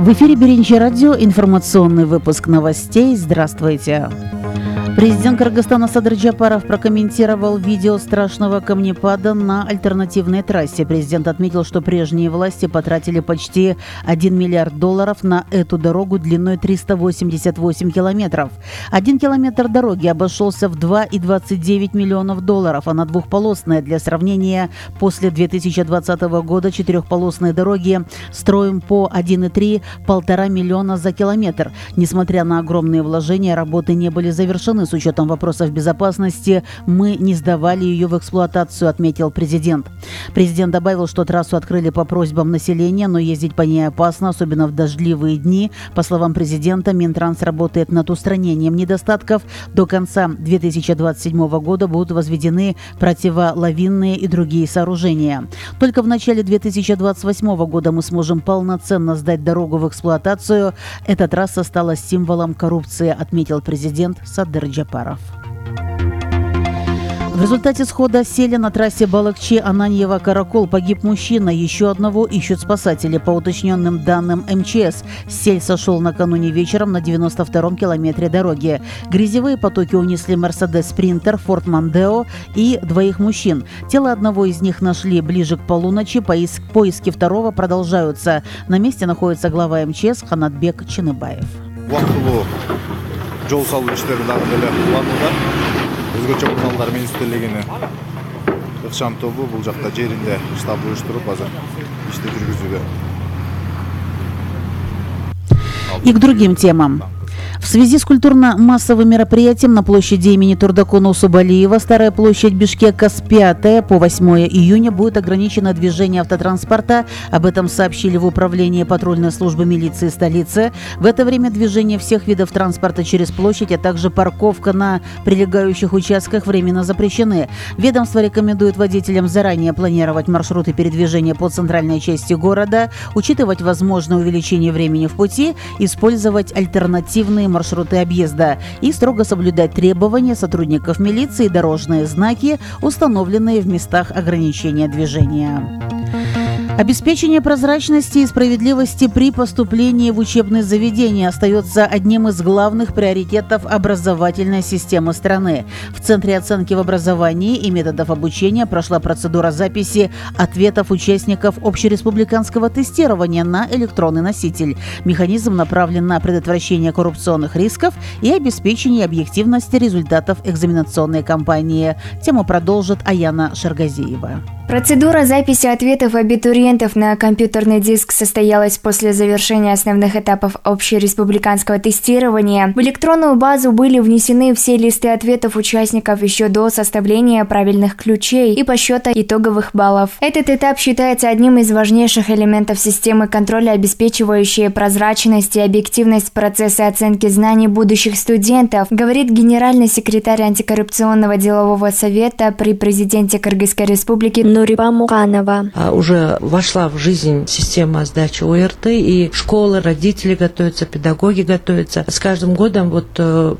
В эфире Биринчи радио, информационный выпуск новостей. Здравствуйте. Президент Кыргызстана Садыр Жапаров прокомментировал видео страшного камнепада на альтернативной трассе. Президент отметил, что прежние власти потратили почти $1 миллиард на эту дорогу длиной 388 километров. 1 километр дороги обошелся в $2,29 миллионов, а двухполосная, для сравнения, после 2020 года четырехполосные дороги строим по 1,3–1,5 миллиона за километр. Несмотря на огромные вложения, работы не были завершены. С учетом вопросов безопасности мы не сдавали ее в эксплуатацию, отметил президент. Президент добавил, что трассу открыли по просьбам населения, но ездить по ней опасно, особенно в дождливые дни. По словам президента, Минтранс работает над устранением недостатков. До конца 2027 года будут возведены противолавинные и другие сооружения. Только в начале 2028 года мы сможем полноценно сдать дорогу в эксплуатацию. Эта трасса стала символом коррупции, отметил президент Садыр Жапаров. В результате схода селя на трассе Балыкчи-Ананьево-Каракол погиб мужчина. Еще одного ищут спасатели. По уточненным данным МЧС, сель сошел накануне вечером на 92-м километре дороги. Грязевые потоки унесли Мерседес Спринтер, Форд Мондео и двоих мужчин. Тело одного из них нашли ближе к полуночи. Поиски второго продолжаются. На месте находится глава МЧС Ханатбек Чыныбаев. Жол салуу иштери дагы деле уланууда. Өзгөчө Кыргызстан министрлигинин ыкчам тобу бул жакта жеринде штаб уюштуруп азыр ишти жүргүзүүдө. И к другим темам. В связи с культурно-массовым мероприятием на площади имени Турдакуна Усубалиева Старая площадь Бишкека с 5 по 8 июня будет ограничено движение автотранспорта. Об этом сообщили в управлении патрульной службы милиции столицы. В это время движение всех видов транспорта через площадь, а также парковка на прилегающих участках временно запрещены. Ведомство рекомендует водителям заранее планировать маршруты передвижения по центральной части города, учитывать возможное увеличение времени в пути, использовать альтернативные маршруты объезда и строго соблюдать требования сотрудников милиции и дорожные знаки, установленные в местах ограничения движения. Обеспечение прозрачности и справедливости при поступлении в учебные заведения остается одним из главных приоритетов образовательной системы страны. В Центре оценки в образовании и методов обучения прошла процедура записи ответов участников общереспубликанского тестирования на электронный носитель. Механизм направлен на предотвращение коррупционных рисков и обеспечение объективности результатов экзаменационной кампании. Тему продолжит Аяна Шаргазиева. Процедура записи ответов абитуриентов на компьютерный диск состоялась после завершения основных этапов общереспубликанского тестирования. В электронную базу были внесены все листы ответов участников еще до составления правильных ключей и подсчета итоговых баллов. Этот этап считается одним из важнейших элементов системы контроля, обеспечивающей прозрачность и объективность процесса оценки знаний будущих студентов, говорит генеральный секретарь антикоррупционного делового совета при президенте Кыргызской республики Нурипа Муканова. Уже вошла в жизнь система сдачи ОРТ, и школы, родители готовятся, педагоги готовятся. С каждым годом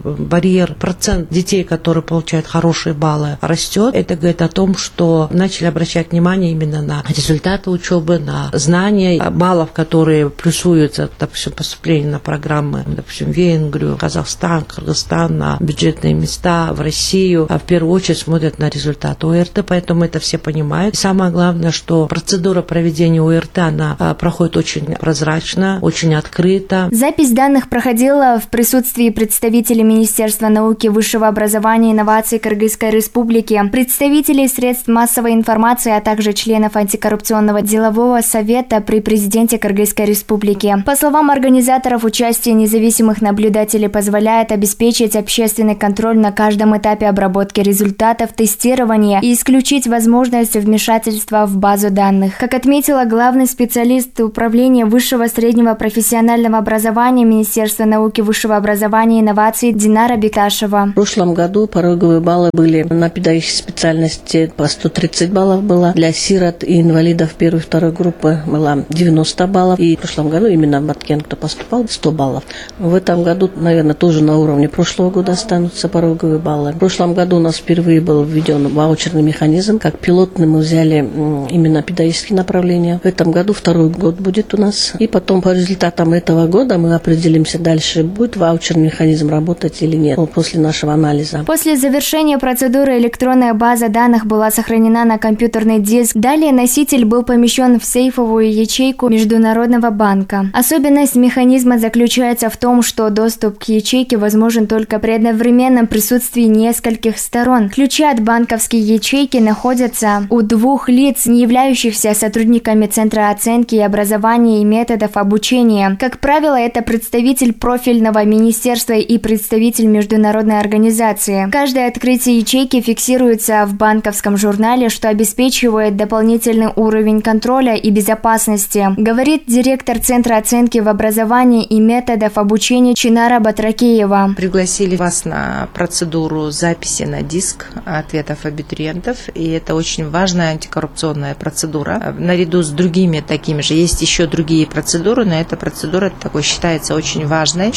барьер, процент детей, которые получают хорошие баллы, растет. Это говорит о том, что начали обращать внимание именно на результаты учебы, на знания, баллов, которые плюсуются, допустим, поступление на программы, допустим, в Венгрию, Казахстан, Кыргызстан, на бюджетные места, в Россию. В первую очередь смотрят на результаты ОРТ, поэтому это все понимают. И самое главное, что процедура проведения ОРТ, она проходит очень прозрачно, очень открыто. Запись данных проходила в присутствии представителей Министерства науки, высшего образования и инноваций Кыргызской Республики, представителей средств массовой информации, а также членов антикоррупционного делового совета при президенте Кыргызской Республики. По словам организаторов, участие независимых наблюдателей позволяет обеспечить общественный контроль на каждом этапе обработки результатов тестирования и исключить возможность вмешательства в базу данных. Как отметила главный специалист управления высшего среднего профессионального образования Министерства науки, высшего образования и инноваций Динара Бекашева. В прошлом году пороговые баллы были на педагогической специальности по 130 баллов было. Для сирот и инвалидов первой и второй группы было 90 баллов. И в прошлом году именно в Баткен, кто поступал, 100 баллов. В этом году, наверное, тоже на уровне прошлого года останутся пороговые баллы. В прошлом году у нас впервые был введен ваучерный механизм. Как пилотный мы взяли именно педагогические направления. В этом году второй год будет у нас. И потом по результатам этого года мы определимся дальше, будет ваучерный механизм работать или нет после нашего анализа. После завершения процедуры электронная база данных была сохранена на компьютерный диск. Далее носитель был помещен в сейфовую ячейку Международного банка. Особенность механизма заключается в том, что доступ к ячейке возможен только при одновременном присутствии нескольких сторон. Ключи от банковской ячейки находятся у двух лиц, не являющихся сотрудниками Центра оценки и образования и методов обучения. Как правило, это представитель профильного министерства и представитель международной организации. Каждое открытие ячейки фиксируется в банковском журнале, что обеспечивает дополнительный уровень контроля и безопасности, говорит директор Центра оценки в образовании и методов обучения Чинара Батракеева. Пригласили вас на процедуру записи на диск ответов абитуриентов, и это очень важная антикоррупционная процедура. Наряду с другими такими же есть еще другие процедуры, но эта процедура такой считается очень важной,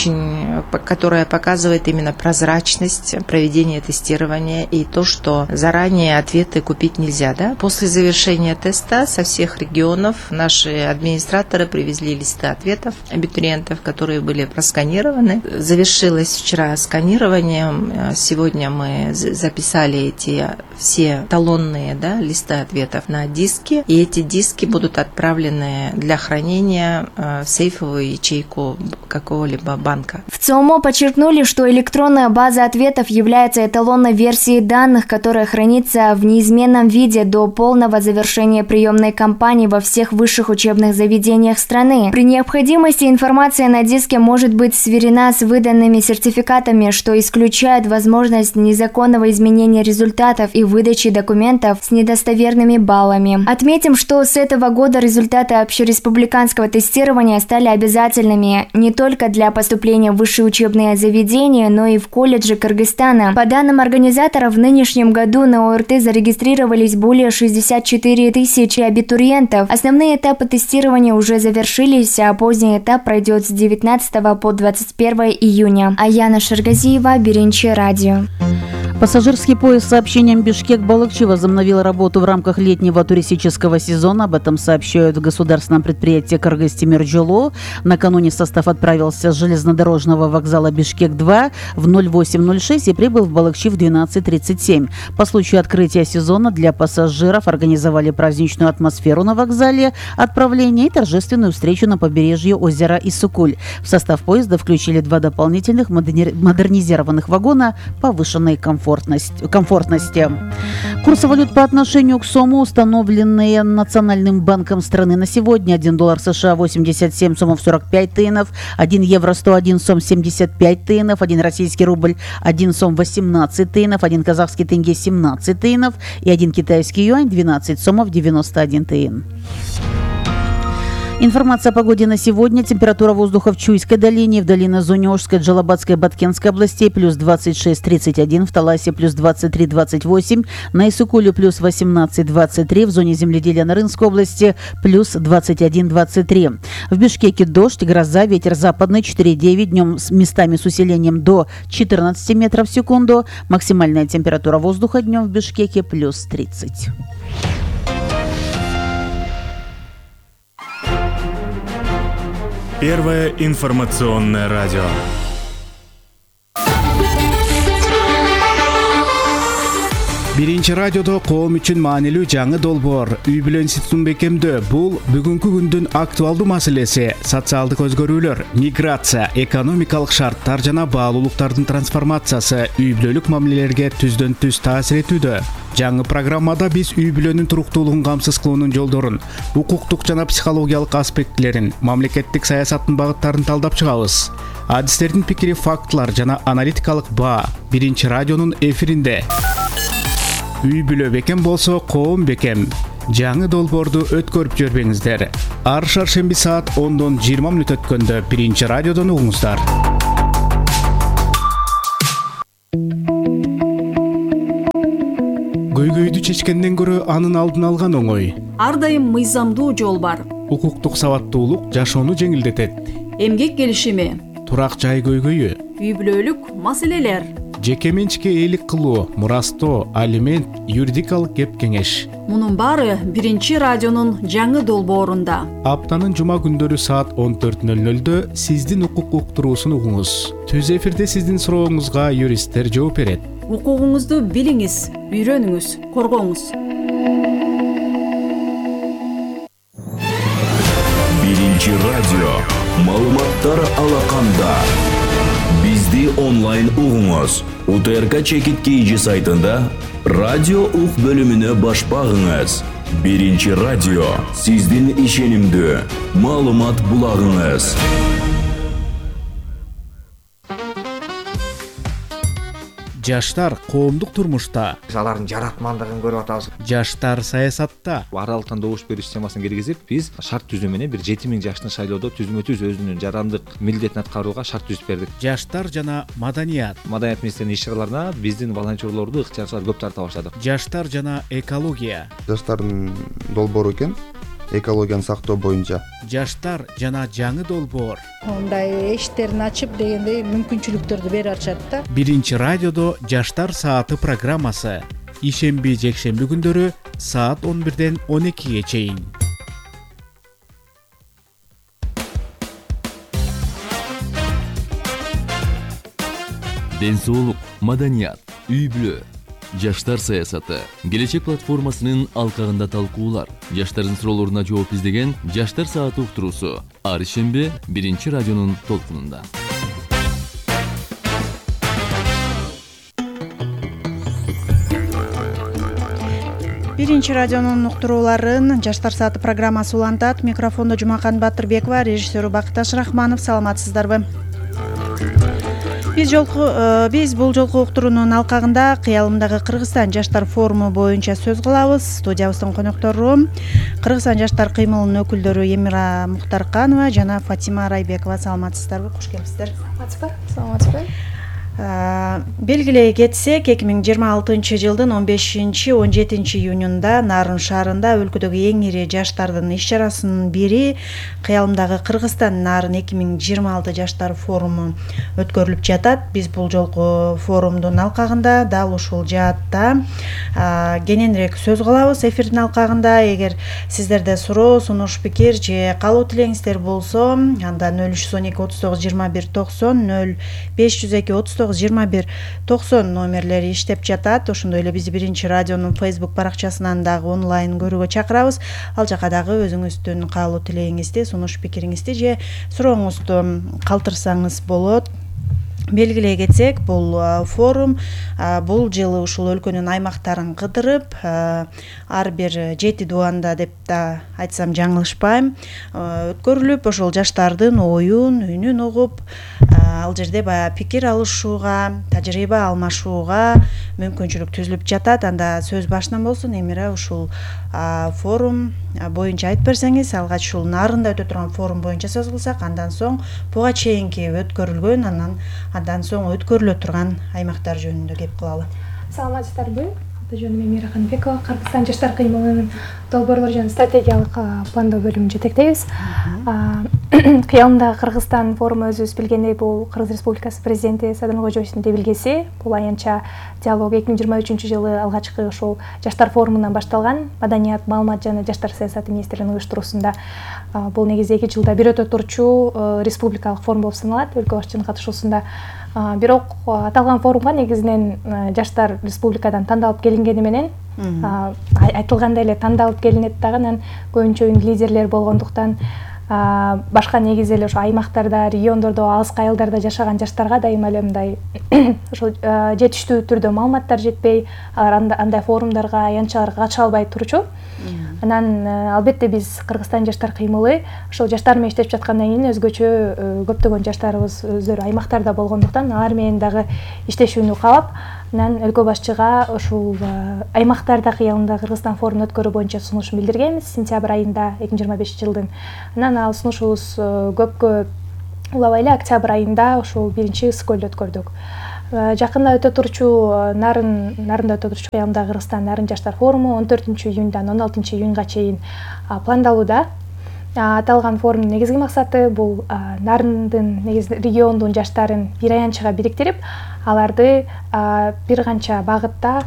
которая показывает именно прозрачность проведения тестирования и то, что заранее ответы купить нельзя. Да? После завершения теста со всех регионов наши администраторы привезли листы ответов абитуриентов, которые были просканированы. Завершилось вчера сканирование. Сегодня мы записали эти все талонные листы ответов на диски, и эти диски будут отправлены для хранения в сейфовую ячейку какого-либо банка. В ЦОМО подчеркнули, что электронная база ответов является эталонной версией данных, которая хранится в неизменном виде до полного завершения приемной кампании во всех высших учебных заведениях страны. При необходимости информация на диске может быть сверена с выданными сертификатами, что исключает возможность незаконного изменения результатов и выдачи документов с недостоверными баллами. Отметим, что с этого года результаты общереспубликанского тестирования стали обязательными не только для поступления в высшие учебные заведения, но и в колледжи Кыргызстана. По данным организаторов, в нынешнем году на ОРТ зарегистрировались более 64 тысячи абитуриентов. Основные этапы тестирования уже завершились, а поздний этап пройдет с 19 по 21 июня. Аяна Шаргазиева, Биринчи радио. Пассажирский поезд с сообщением Бишкек-Балыкчи возобновил работу в рамках летнего туристического сезона. Об этом сообщают в государственном предприятии «Кыргыз-Темиржолу». Накануне состав отправился с железнодорожного вокзала Бишкек-2 в 08:06 и прибыл в Балыкчи в 12:37. По случаю открытия сезона для пассажиров организовали праздничную атмосферу на вокзале отправления и торжественную встречу на побережье озера Исукуль. В состав поезда включили 2 дополнительных модернизированных вагона повышенной комфортности. Курсы валют по отношению к сому, установленные Национальным банком страны на сегодня: 1 доллар США 87 сомов 45 тыйнов, 1 евро 101 сом 75 тыйнов, 1 российский рубль 1 сом 18 тыйнов, 1 казахский тенге 17 тыйнов и 1 китайский юань 12 сомов 91 тыйн. Информация о погоде на сегодня. Температура воздуха в Чуйской долине, в долине Зунёжской, Джалабадской, Баткенской областей плюс 26-31, в Таласе плюс 23-28, на Исукуле плюс 18-23, в зоне земледелия на Рынской области плюс 21-23. В Бишкеке дождь, гроза, ветер западный 4,9, днем с местами с усилением до 14 метров в секунду. Максимальная температура воздуха днем в Бишкеке плюс 30. Первое информационное радио. Биринчи радиодо коом үчүн маанилүү жаңы долбоор үй бүлө институтун бекемдөө. Бул бүгүнкү күндүн актуалдуу маселеси. Социалдык өзгөрүүлөр, миграция, экономикалык шарттар жана баалуулуктардын трансформациясы үй бүлөлүк мамилелерге түздөн түз таасир этүүдө. Жаңы программада биз үй бүлөнүн туруктуулугун камсыз кылуунун жолдорун, укуктук жана психологиялык аспектилерин, мамлекеттик саясаттын багыттарын талдап чыгабыз. Адистердин пикири, фактылар жана аналитикалык баа Биринчи радионун эфиринде. Үй бүлө бекем болсо коом бекем. Жаңы долбоорду өткөрүп жүрбөңүздөр. Ар шаршемби саат 10-дон 20 мүнөт өткөндө Биринчи радиодон угуңуздар. Көйгөйдү чечкенден көрө анын алдын алган оңой. Ар дайым мыйзамдуу жол бар. Укуктук сабаттуулук жашоону жеңилдетет. Эмгек келишими, турак жай көйгөйү, үй бүлөлүк маселелер, жеке менчикке ээлик кылуу, мурастоо, алимент, юридикалык кеп кеңеш. Мунун баары биринчи радионун жаңы долбоорунда. Аптанын жума күндөрү саат 14:00 сиздин укук уктуруусун угуңуз. Түз эфирде сиздин сурооңузга юристтер жооп берет. Укугуңузду билиңиз, үйрөнүңүз, коргоңуз. Биринчи радио. Маалыматтар алаканда. Бизди онлайн угуңуз. УТРК Чекит KG сайтында радио ук бөлүмүнө баш багыңыз. Биринчи радио. Сиздин ишенимдүү маалымат булагыңыз. Жаштар коомдук турмушта. Алардын жаратмандыгын көрүп атабыз. Жаштар саясатта. Аралыктан добуш бериш системасын киргизип, биз шарт түзүү менен бир 7000 жаштын шайлоодо түзмө-түз өзүнүн жарандык милдетин аткарууга шарт түзүп бердик. Жаштар жана маданият. Маданият министринин иш-чараларына биздин волонтерлорду ыктыярчылар көп тарта баштадык. Жаштар жана экология. Жаштардын долбоору экен. Экологияны сактоо боюнча. Жаштар жана жаңы долбоор. Мындай эшиктерин ачып дегендей мүмкүнчүлүктөрдү берип атышат да. Биринчи радиодо Жаштар сааты программасы. Ишемби, жекшемби күндөрү саат 11-ден 12-ге чейин. Ден соолук, маданият, үй-бүлө, жаштар саясаты, келечек платформасынын алкагында талкуулар, жаштардын суроолоруна жооп издеген Жаштар сааты уктуруусу ар ишемби биринчи радионун толкунунда. Биринчи радионун уктурууларын Жаштар сааты программасы улантат. Микрофондо Жумакан Батырбекова, режиссеру Бакташ Рахманов. Саламатсыздарбы? Биз бул жолку уктуруунун алкагында Кыялымдагы Кыргызстан жаштар форуму боюнча сөз кылабыз. Студиябыздын коноктору Кыргызстан жаштар кыймылынын өкүлдөрү Эмира Мухтарканова жана Фатима Райбекова. Саламатсыздарбы? Куш келипсиздер. Саламатсызбы. Белгилей кетсек, 2026 жылдын 15-17 июнунда Нарын шаарында өлкөдөгү эң ири жаштардын иш-чарасынын бири Кыялымдагы Кыргызстан Нарын 2026 жаштар форуму өткөрүлүп жатат. Биз бул жолку форумдун алкагында дал ушул жаатта кененирээк сөз кылабыз. Эфирдин алкагында эгер сиздерде суроо, сунуш, пикир же калуу тилеңиздер болсо, анда 0312 39 21 90 0502 2190 номерлери иштеп жатат. Ошондой эле биз биринчи радионун Facebook баракчасынан дагы онлайн көрүүгө чакырабыз. Ал жака дагы өзүңүздүн каалуу тилегиңизди, сунуш пикириңизди же сурооңузду калтырсаңыз болот. Белгилей кетсек, бул форум бул жылы ушул өлкөнүн аймактарын кыдырып, ар бир 7 дубанда деп да айтсам жаңылышпайм, өткөрүлүп, ошол жаштардын оюн, үнүн угуп, ал жерде баягы пикир алышууга, тажрыйба алмашууга мүмкүнчүлүк түзүлүп жатат. Анда сөз башынан болсун, Эмира ушул форум боюнча айтып берсеңиз, алгач ушул Нарында өтө турган форум боюнча сөз кылсак, андан соң буга чейинки өткөрүлгөн, андан соң өткөрүлө турган аймактар жөнүндө кеп кылалы. Саламатсыздарбы? Жөнүм Эмира Канбекова, Кыргызстан жаштар кыймылынын долбоорлор жана стратегиялык пландоо бөлүмүн жетектейбиз. Кыялымдагы Кыргызстан форуму өзүбүз билгендей бул Кыргыз Республикасы президенти Садыр Кожоевдун тебилгеси. Бул аянтча диалог 2023 жылы алгачкы ошол жаштар форумунан башталган. Маданият, маалымат жана жаштар саясаты министрлигинин уюштуруусунда бул негизи 2 жылда бир өтө турчу республикалык форум болуп саналат, өлкө башчынын катышуусунда. Бирок аталган форумга негизинен жаштар республикадан тандалып келингени менен айтылгандай эле тандалып келинет дагы, анан көбүнчө лидерлер болгондуктан башка негизи эле ошо аймактарда, региондордо, алыскы айылдарда жашаган жаштарга дайыма эле мындай ошол жетиштүү түрдө маалыматтар жетпей, алар андай форумдарга, аянтчаларга катыша албай турчу. Анан албетте биз Кыргызстан жаштар кыймылы ошол жаштар менен иштеп жаткандан кийин өзгөчө көптөгөн жаштарыбыз өздөрү аймактарда болгондуктан алар менен дагы иштешүүнү каалап, анан өлкө башчыга ушул аймактарда Кыялымда Кыргызстан форумун өткөрүү боюнча сунушун билдиргенбиз сентябрь айында 2025 жылдын. Анан ал сунушубуз көпкө улабай эле октябрь айында ушул биринчи ысык-көлдө өткөрдүк. Жакында өтө турчу Нарында өтө турчу Кыялымдагы Кыргызстан Нарын жаштар форуму 14 июндан 16 июнга чейин пландалууда. Аталган форумдун негизги максаты бул Нарындын региондун жаштарын бир аянтчыга бириктирип, аларды бир канча багытта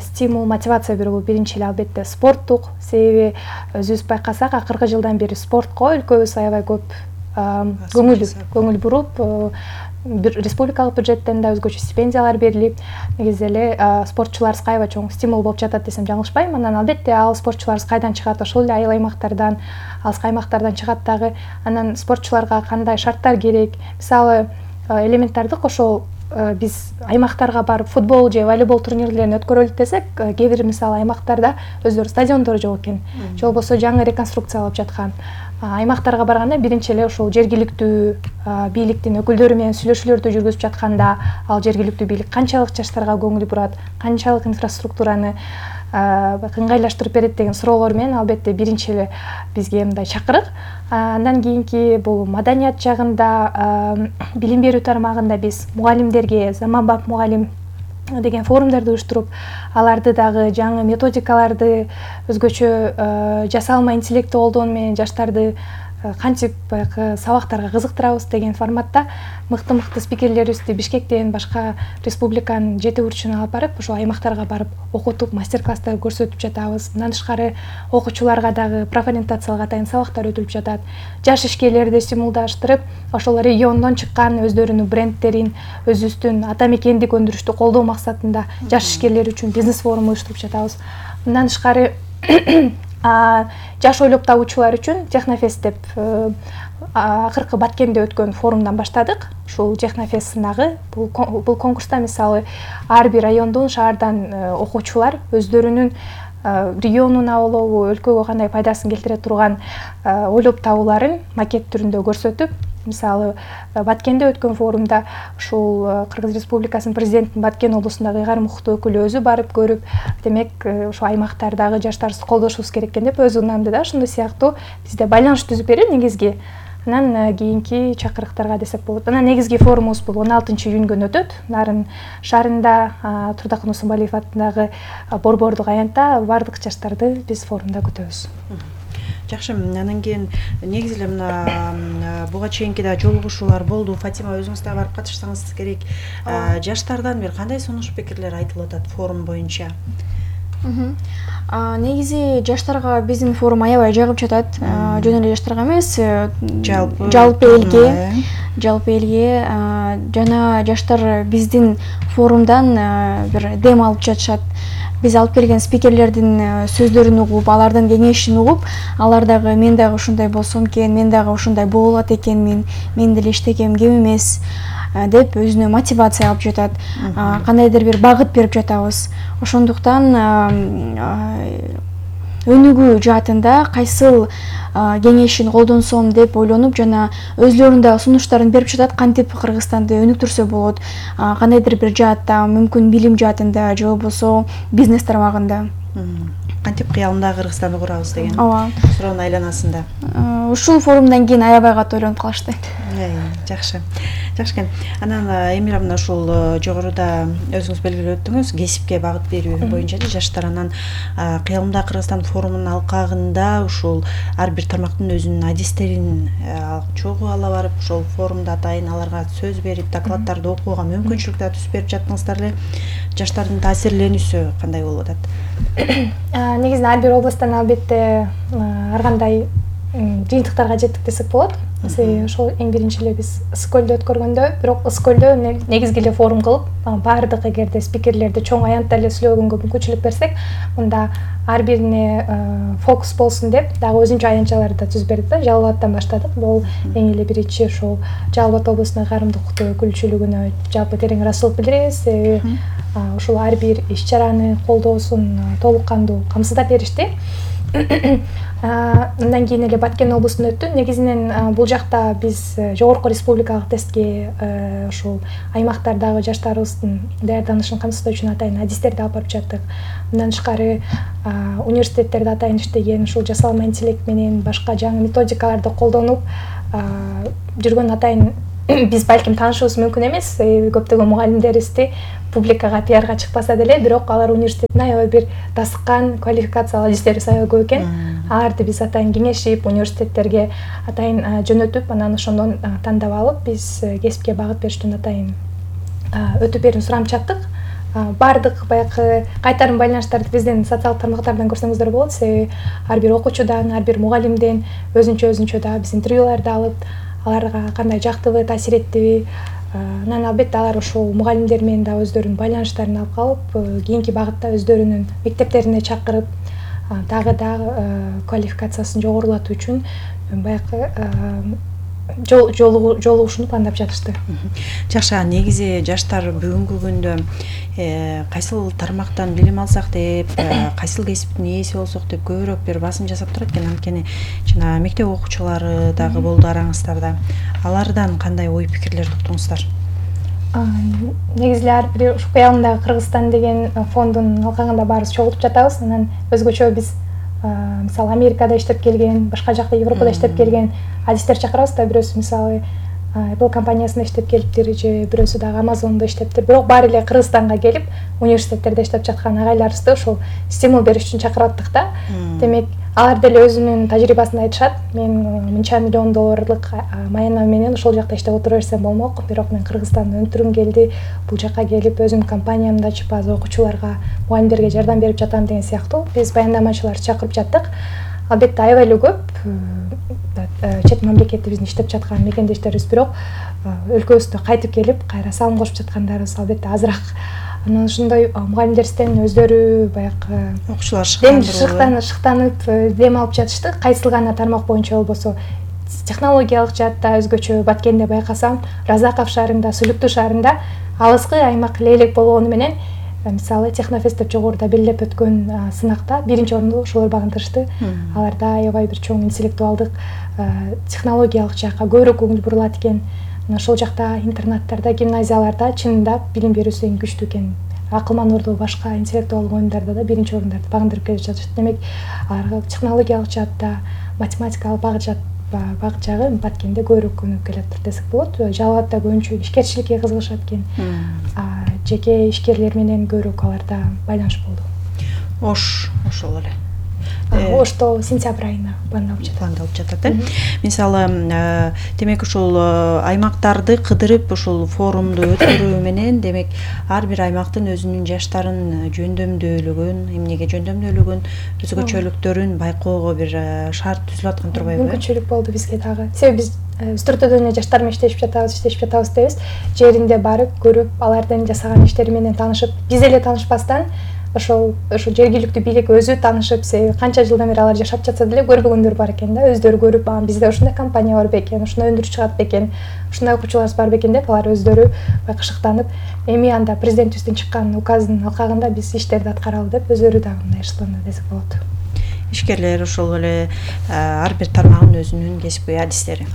стимул, мотивация берүү. Биринчи эле албетте спорттук, себеби өзүбүз байкасак, акыркы жылдан бери спортко өлкөбүз аябай көп көңүл буруп, республикалык бюджеттен да өзгөчө стипендиялар берилип, негизи эле спортчуларыбызга аябай чоң стимул болуп жатат десем жаңылышпайм. Анан албетте ал спортчуларыбыз кайдан чыгат? Ошол эле айыл аймактардан, алыскы аймактардан чыгат дагы. Анан спортчуларга кандай шарттар керек? Мисалы, элементардык ошол биз аймактарга барып футбол же волейбол турнирлерин өткөрөлүк десек, кээ бир мисалы аймактарда өздөрү стадиондору жок экен, же болбосо жаңы реконструкциялап жаткан. Аймактарга барганда биринчи эле ошол жергиликтүү бийликтин өкүлдөрү менен сүйлөшүүлөрдү жүргүзүп жатканда, ал жергиликтүү бийлик канчалык жаштарга көңүл бурат, канчалык инфраструктураны ыңгайлаштырып берет деген суроолор менен албетте биринчи эле бизге мындай чакырык. Андан кийинки бул маданият жагында, билим берүү тармагында биз мугалимдерге заманбап мугалим деген форумдарды уюштуруп, аларды дагы жаңы методикаларды өзгөчө жасалма интеллектти колдонуу менен жаштарды кантип сабактарга кызыктырабыз деген форматта мыкты спикерлерибизди Бишкектен башка республиканын 7 бурчуна алып барып, ошол аймактарга барып окутуп, мастер-класстар көрсөтүп жатабыз. Мындан тышкары окуучуларга дагы профориентациялык атайын сабактар өтүлүп жатат. Жаш ишкерлерди стимулдаштырып, ошол региондон чыккан өздөрүнүн брендтерин, өзүбүздүн ата мекендик өндүрүштү колдоо максатында жаш ишкерлер үчүн бизнес форум уюштуруп жатабыз. Мындан тышкары жаш ойлоп табуучулар үчүн Технофест деп акыркы Баткенде өткөн форумдан баштадык. Ушул Технофест сынагы, бул конкурста мисалы ар бир райондон, шаардан окуучулар өздөрүнүн регионуна болобу, өлкөгө кандай пайдасын келтире турган ойлоп табууларын макет түрүндө көрсөтүп, мисалы Баткенде өткөн форумда ушул Кыргыз Республикасынын президентинин Баткен облусундагы ыйгарым укуктуу өкүлү өзү барып көрүп, демек ошо аймактардагы жаштарыбызды колдошубуз керек экен деп өзү ынанды да. Ошондой сыяктуу бизде байланыш түзүп берип негизги, анан кийинки чакырыктарга десек болот. Анан негизги форумубуз бул 16-июнь өтөт. Нарын шаарында Турдакын Усунбалиев атындагы борбордук аянтта бардык жаштарды биз форумда күтөбүз. Жакшы, анан кийин негизи эле мына буга чейинки да жолугушуулар болду. Фатима, өзүңүз да барып катышсаңыз керек. Жаштардан бир кандай сунуш пикирлер айтылып атат форум боюнча? Негизи жаштарга биздин форум аябай жагып жатат. Жөн эле жаштарга эмес, жалпы элге жана жаштар биздин форумдан бир дем алып жатышат. Биз алып келген спикерлердин сөздөрүн угуп, алардын кеңешин угуп, алар дагы мен дагы ушундай болсом экен, мен дагы ушундай болот экенмин, мен деле иштегем кем эмес деп өзүнө мотивация алып жатат. Кандайдыр бир багыт берип жатабыз. Ошондуктан өнүгүү жаатында кайсыл кеңешин колдонсом деп ойлонуп, жана өзлөрүнүн да сунуштарын берип жатат, кантип Кыргызстанды өнүктүрсө болот, кандайдыр бир жаатта, мүмкүн билим жаатында же болбосо бизнес тармагында. Кантип кыялында Кыргызстанды курабыз деген суроонун айланасында. Ушул форумдан кийин аябай катуу ойлонуп калышты. Жакшы. Жакшы экен. Анан Эмира, мына ушул жогоруда өзүңүз белгилеп өттүңүз, кесипке багыт берүү боюнча жаштар. Анан кыялымда Кыргызстан форумунун алкагында ушул ар бир тармактын өзүнүн адистерин чогуу ала барып, ошол форумда атайын аларга сөз берип, докладдарды окууга мүмкүнчүлүк да түзүп берип жаттыңыздар эле. Жаштардын таасирленүүсү кандай болуп атат? Негизинен ар бир областтан албетте ар кандай жыйынтыктарга жеттик десек болот. Ошол эң биринчи эле биз Ысыкөлдө өткөргөндө, бирок Ысыкөлдө негизги эле форум кылып, баардык эгерде спикерлерди чоң аянтта эле сүйлөгөнгө мүмкүнчүлүк берсек, мында ар бирине фокус болсун деп дагы өзүнчө аянтчаларды да түзүп бердик да. Жалал Абадтан баштадык. Бул эң эле биринчи ошол Жалал Абад облусунун ыйгарымдык укуктуу өкүлчүлүгүнө жалпы терең ыраазычылык билдиребиз. Ушул ар бир иш-чараны колдоосун толук кандуу камсыздап беришти. Андан кийин эле Баткен облусунда өттү. Негизинен бул жакта биз жогорку республикалык тестке ушул аймактардагы жаштарыбыздын даярданышын камсыздоо үчүн атайын адистерди алып барып жаттык. Мындан тышкары университеттерде атайын иштеген, ушул жасалма интеллект менен башка жаңы методикаларды колдонуп жүргөн атайын биз балким таанышыбыз мүмкүн эмес, көптөгөн мугалимдерибизди публикага, пиарга чыкпаса деле, бирок алар университеттин аябай бир дасыккан, квалификациялуу адистерибиз аябай көп экен. Аларды биз атайын кеңешип, университеттерге атайын жөнөтүп, анан ошондон тандап алып, биз кесипке багыт бериштен атайын өтүп берүүнү сурамчы чаттык. Бардык баягы кайтарым байланыштарды биздин социалдык тармактардан көрсөңүздөр болот. Себеби ар бир окуучудан, ар бир мугалимден өзүнчө да биз интервьюларды алып, аларга кандай жактыбы, таасир эттиби, анан албетте алар ушул мугалимдер менен да өздөрүнүн байланыштарын алып калып, кийинки багытта өздөрүнүн мектептерине чакырып, дагы квалификациясын жогорулатуу үчүн баягы жолугушууну пландап жатышты. Жакшы, негизи жаштар бүгүнкү күндө кайсыл тармактан билим алсак деп, кайсыл кесиптин ээси болсок деп көбүрөөк бир басым жасап турат экен. Анткени жана мектеп окуучулары дагы болду араңыздарда. Алардан кандай ой пикирлер уктуңуздар? Негизи ар бир ушу кыялымдагы Кыргызстан деген фондун алкагында баарыбыз чогулуп жатабыз. Анан өзгөчө биз мисалы Америкада иштеп келген, башка жакта Европада иштеп келген адистер чакырабыз да, бирөөсү мисалы Apple компаниясында иштеп келиптир, же бирөөсү дагы Amazon'да иштептир. Бирок баары эле Кыргызстанга келип, университеттерде иштеп жаткан агайларыбызды ошол стимул бериш үчүн чакырып аттык да. Демек, алар деле өзүнүн тажрыйбасын айтышат. Мен мынча миллион долларлык маянам менен ошол жакта иштеп отура берсем болмок, бирок мен Кыргызстандан өнтүрүм келди, бул жакка келип өзүмдүн компаниямды ачып, азыр окуучуларга, мугалимдерге жардам берип жатам деген сыяктуу биз баяндамачыларды чакырып жаттык. Албетте аябай эле көп чет мамлекетте биздин иштеп жаткан мекендештерибиз, бирок өлкөбүздө кайтып келип, кайра салым кошуп жаткандарыбыз албетте азыраак. Анан ошондой мугалимдерибизден өздөрү баягы окуучулар шыктанып дем алып жатышты. Кайсыл гана тармак боюнча болбосо технологиялык жаатта өзгөчө Баткенде байкасам, Разаков шаарында, Сүлүктүү шаарында алыскы аймак элек болгону менен мисалы Технофест деп жогоруда белгилеп өткөн сынакта биринчи орунду ошолор багындырышты. Аларда аябай бир чоң интеллектуалдык, технологиялык жакка көбүрөөк көңүл бурулат экен. Ошол жакта интернаттарда, гимназияларда чынында билим берүүсү эң күчтүү экен. Акылман орду башка интеллектуалдык оюндарда да биринчи орундарды багындырып келе жатышты. Демек, аларга технологиялык жаатта, математикалык багыт жагы Баткенде көбүрөөк көнүп келатыр десек болот. Жалал абадда көбүнчө ишкерчиликке кызыгышат экен. Жеке ишкерлер менен көбүрөөк аларда байланыш болду. Ошол эле. Ошто сентябрь айына пландалып жатат. Мисалы, демек ушул аймактарды кыдырып ушул форумду өткөрүү менен, демек ар бир аймактын өзүнүн жаштарын жөндөмдүүлүгүн, эмнеге жөндөмдүүлүгүн, өзгөчөлүктөрүн байкоого бир шарт түзүлүп аткан турбайбы? Мүмкүнчүлүк болду бизге дагы. Себеби биз Өстүртөдөн жаштар менен иштешип жатабыз дебиз. Жеринде барып, көрүп, алардын жасаган иштери менен таанышып, биз эле таанышпастан ошол жергиликтүү бийлик өзү таанышып, канча жылдан бери алар жашап жатса деле көрбөгөндөр бар экен да, өздөрү көрүп, бизде ушундай компания бар бекен, ушундай өндүрүш чыгат бекен, ушундай окуучуларыбыз бар бекен деп алар өздөрү байкашыктанып, эми анда президентибиздин чыккан указынын алкагында биз иштерди аткаралы деп өздөрү дагы мындай ышыктанды десек болот. Ишкерлер ошол эле ар бир тармагынын өзүнүн кесипкөй адистери.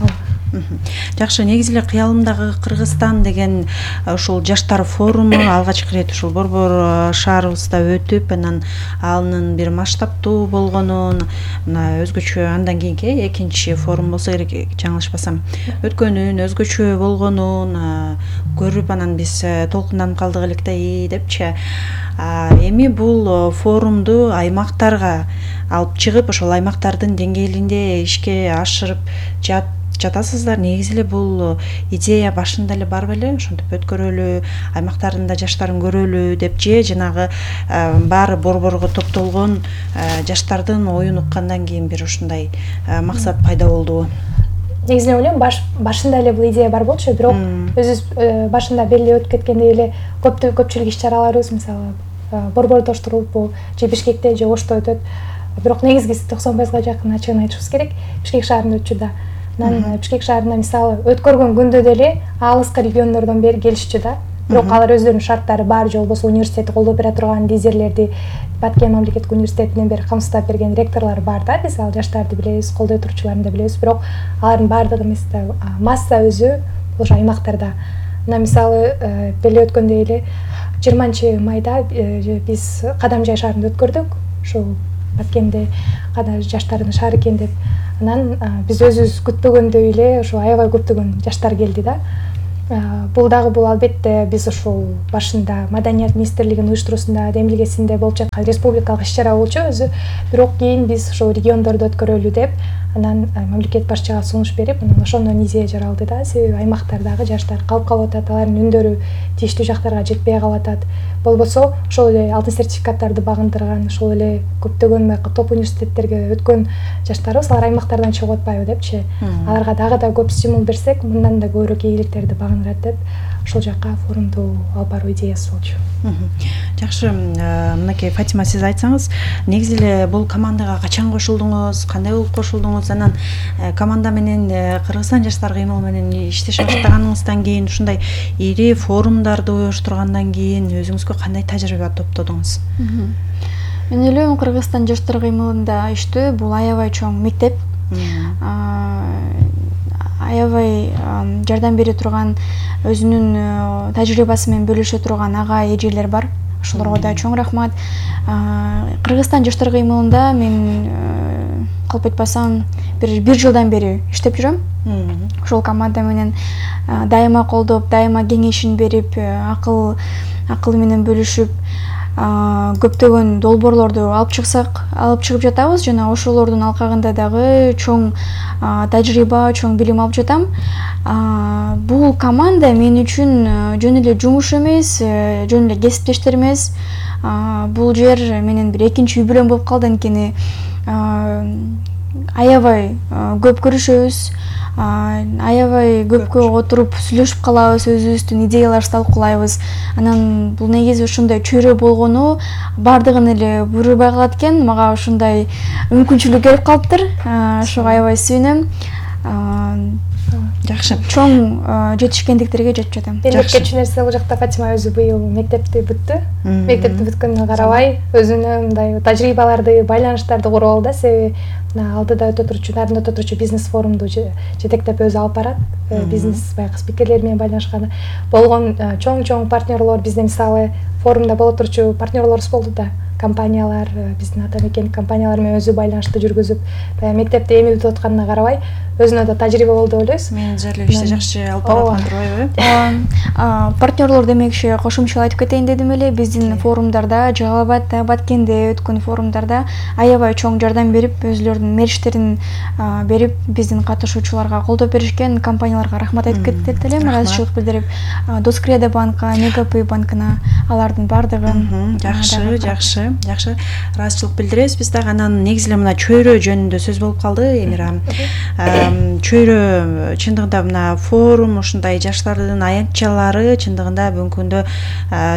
Жакшы, негизи эле кыялымдагы Кыргызстан деген ушул жаштар форуму алгачкы ирет ушул Борбор шаарыбызда өтүп, анан анын бир масштабтуу болгонун, мына өзгөчө андан кийинки экинчи форум болсо керек, жаңылышпасам, өткөнүн өзгөчө болгонун көрүп, анан биз толкунданып калдык элек да депчи. Эми бул форумду аймактарга алып чыгып, ошол аймактардын деңгээлинде ишке ашырып жатасыздар. Негизи эле бул идея башында эле бар беле, ошентип өткөрөлү, аймактардын да жаштарын көрөлү деп же жанагы баары борборго топтолгон жаштардын оюн уккандан кийин бир ушундай максат пайда болдубу? Негизинен ойлойм, башында эле бул идея бар болчу, бирок өзүбүз башында белгилеп өтүп кеткендей эле көпчүлүк иш-чараларыбыз, мисалы, борбордо оштурулуп, же Бишкекте, же Ошто өтөт. Бирок негизгиси 90% жакын ачыгын айтышыбыз керек, Бишкек шаарында өтчү да. Анан Бишкек шаарында мисалы өткөргөн күндө деле алыскы региондордон бери келишчү да. Бирок алар өздөрүнүн шарттары бар, же болбосо университетти колдоп бере турган лидерлерди, Баткен мамлекеттик университетинен бери камсыздап берген ректорлор бар да. Биз ал жаштарды билебиз, колдой турчуларын да билебиз, бирок алардын баардыгы эмес да, масса өзү ошо аймактарда. Мына мисалы белгилеп өткөндөй эле 20 майда биз Кадамжай шаарында өткөрдүк. Ушул Баткенде кана жаштардын шаары экен деп. Анан биз өзүбүз күтпөгөндөй эле ошо аябай көптөгөн жаштар келди да. Бул албетте биз ушул башында Маданият министрлигинин уюштуруусунда демилгесинде болуп жаткан республикалык иш-чара болчу өзү. Бирок кийин биз ошол региондордо өткөрөлү деп анан мамлекет башчыга сунуш берип, анан ошондон идея жаралды да. Себеби аймактардагы жаштар калып атат, алардын үндөрү тийиштүү жактарга жетпей калып атат. Болбосо ошол эле алтын сертификаттарды багындырган, ошол эле көптөгөн топ университеттерге өткөн жаштарыбыз алар аймактардан чыгып атпайбы депчи. Аларга дагы да көп стимул берсек, мындан да көбүрөөк ийгиликтерди багындырат деп ошол жакка форумду алып баруу идеясы болчу. Жакшы, мынакей Фатима, сиз айтсаңыз, негизи эле бул командага качан кошулдуңуз, кандай болуп кошулдуңуз, анан команда менен Кыргызстан жаштар кыймыл менен иштеше баштаганыңыздан кийин, ушундай ири форумдарды уюштургандан кийин өзүңүзгө кандай тажрыйба топтодуңуз? Мен ойлойм, Кыргызстан жаштар кыймылында иштөө бул аябай чоң мектеп. Аябай жардам бере турган, өзүнүн тажрыйбасы менен бөлүшө турган ага эжелер бар. Ошолорго да чоң рахмат. Кыргызстан жаштар кыймылында мен калп айтпасам бир жылдан бери иштеп жүрөм. Ошол команда менен дайыма колдоп, дайыма кеңешин берип, акыл менен бөлүшүп, көптөгөн долбоорлорду алып чыгып жатабыз жана ошолордун алкагында дагы чоң тажрыйба, чоң билим алып жатам. Бул команда мен үчүн жөн эле жумуш эмес, жөн эле кесиптештер эмес. Бул жер менен бир экинчи үй бүлөм болуп калды, анткени аябай көп көрүшөбүз, аябай көпкө отуруп сүйлөшүп калабыз, өзүбүздүн идеяларыбызды талкуулайбыз. Анан бул негизи ушундай чөйрө болгону бардыгын эле буйрубай калат экен. Мага ушундай мүмкүнчүлүк берип калыптыр. Ошого аябай сүйүнөм. Жакшы. Чоң жетишкендиктерге жетип жатам. Элестетчү нерсе бул жакта Фатима өзү быйыл мектепти бүттү. Мектепти бүткөнүнө карабай, өзүнүн мындай тажрыйбаларды, байланыштарды куруп алды да. Себеби алдыда өтө турчу, нарында өтө турчу бизнес форумду жетектеп өзү алып барат. Бизнес баягы спикерлер менен байланышкан болгон чоң партнерлор бизде, мисалы, форумда боло турчу партнерлорубуз болду да. Компаниялар, биздин ата мекен компаниялар менен өзү байланышты жүргүзүп, мектепти эми бүтүп атканына карабай, өзүнө да тажрыйба болду деп ойлойбуз. Менеджерлик иште жакшы алып барып турбайбы? Партнерлор демекчи кошумчалап айтып кетейин дедим эле. Биздин форумдарда, Жалал Абадда, Баткенде өткөн форумдарда аябай чоң жардам берип, өзүлөрүнүн мерчтерин берип, биздин катышуучуларга колдоо беришкен компанияларга рахмат айтып кетет элем, ыраазычылык билдирип, Доскреда банка, Мегапы банкына, алардын бардыгын. Жакшы, ыраазычылык билдиребиз. Биз дагы анан негизи эле мына чөйрө жөнүндө сөз болуп калды, Эмира. Чөйрө чындыгында мына форум, ушундай жаштардын аянтчалары чындыгында бүгүнкү күндө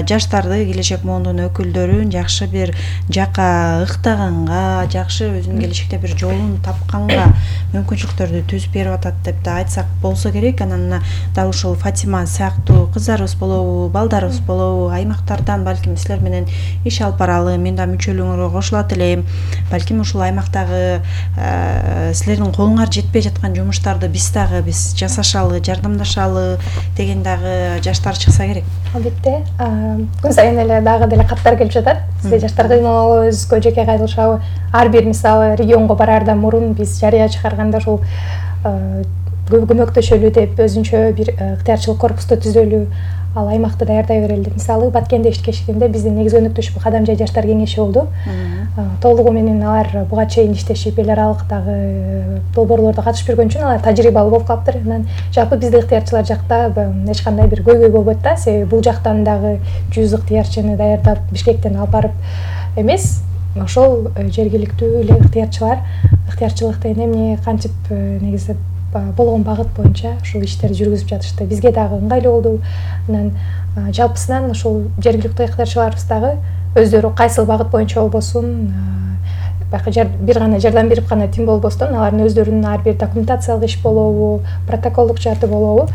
жаштарды, келечек моундун өкүлдөрүн жакшы бир жакка ыктаганга, жакшы өзүнүн келечекте бир жолун тапканга мүмкүнчүлүктөрдү түзүп берип атат деп да айтсак болсо керек. Анан дал ушул Фатима сыяктуу кыздарыбыз болобу, балдарыбыз болобу, аймактардан балким силер менен иш алып баралы, мен да мүчөлүгүңөргө кошулат элем. Балким ушул аймактагы силердин колуңар жетпей жаткан жумуштарды биз жасашалы, жардамдашалы деген дагы жаштар чыкса керек. Албетте, күн сайын эле дагы деле каттар келип жатат. Бизде жаштар кыймылы өзүбүзгө жеке кайрылышабы, ар бир мисалы регионго бараардан мурун биз жарыя чыгарганда ушул көмөктөшөлү деп өзүнчө бир ыктыярчылык корпусту түзөлү, ал аймакты даярдай берели деп. Мисалы Баткенде иштешкенде биздин негизги өнөктөшү Кадам жай жаштар кеңеши болду. Толугу менен алар буга чейин иштешип, эл аралык дагы долбоорлордо катышып жүргөн үчүн алар тажрыйбалуу болуп калыптыр. Анан жалпы бизде ыктыярчылар жакта эч кандай бир көйгөй болбойт да. Себеби бул жактан дагы 100 ыктыярчыны даярдап Бишкектен алып барып эмес, ошол жергиликтүү эле ыктыярчылык деген эмне кантип негизи болгон багыт боюнча ушул иштерди жүргүзүп жатышты. Бизге дагы ыңгайлуу болду. Анан жалпысынан ушул жергиликтүү ыктыярчыларыбыз дагы өздөрү кайсыл багыт боюнча болбосун, бир гана жардам берип гана тим болбостон, алардын өздөрүнүн ар бир документациялык иш болобу, протоколдук жааты болобу,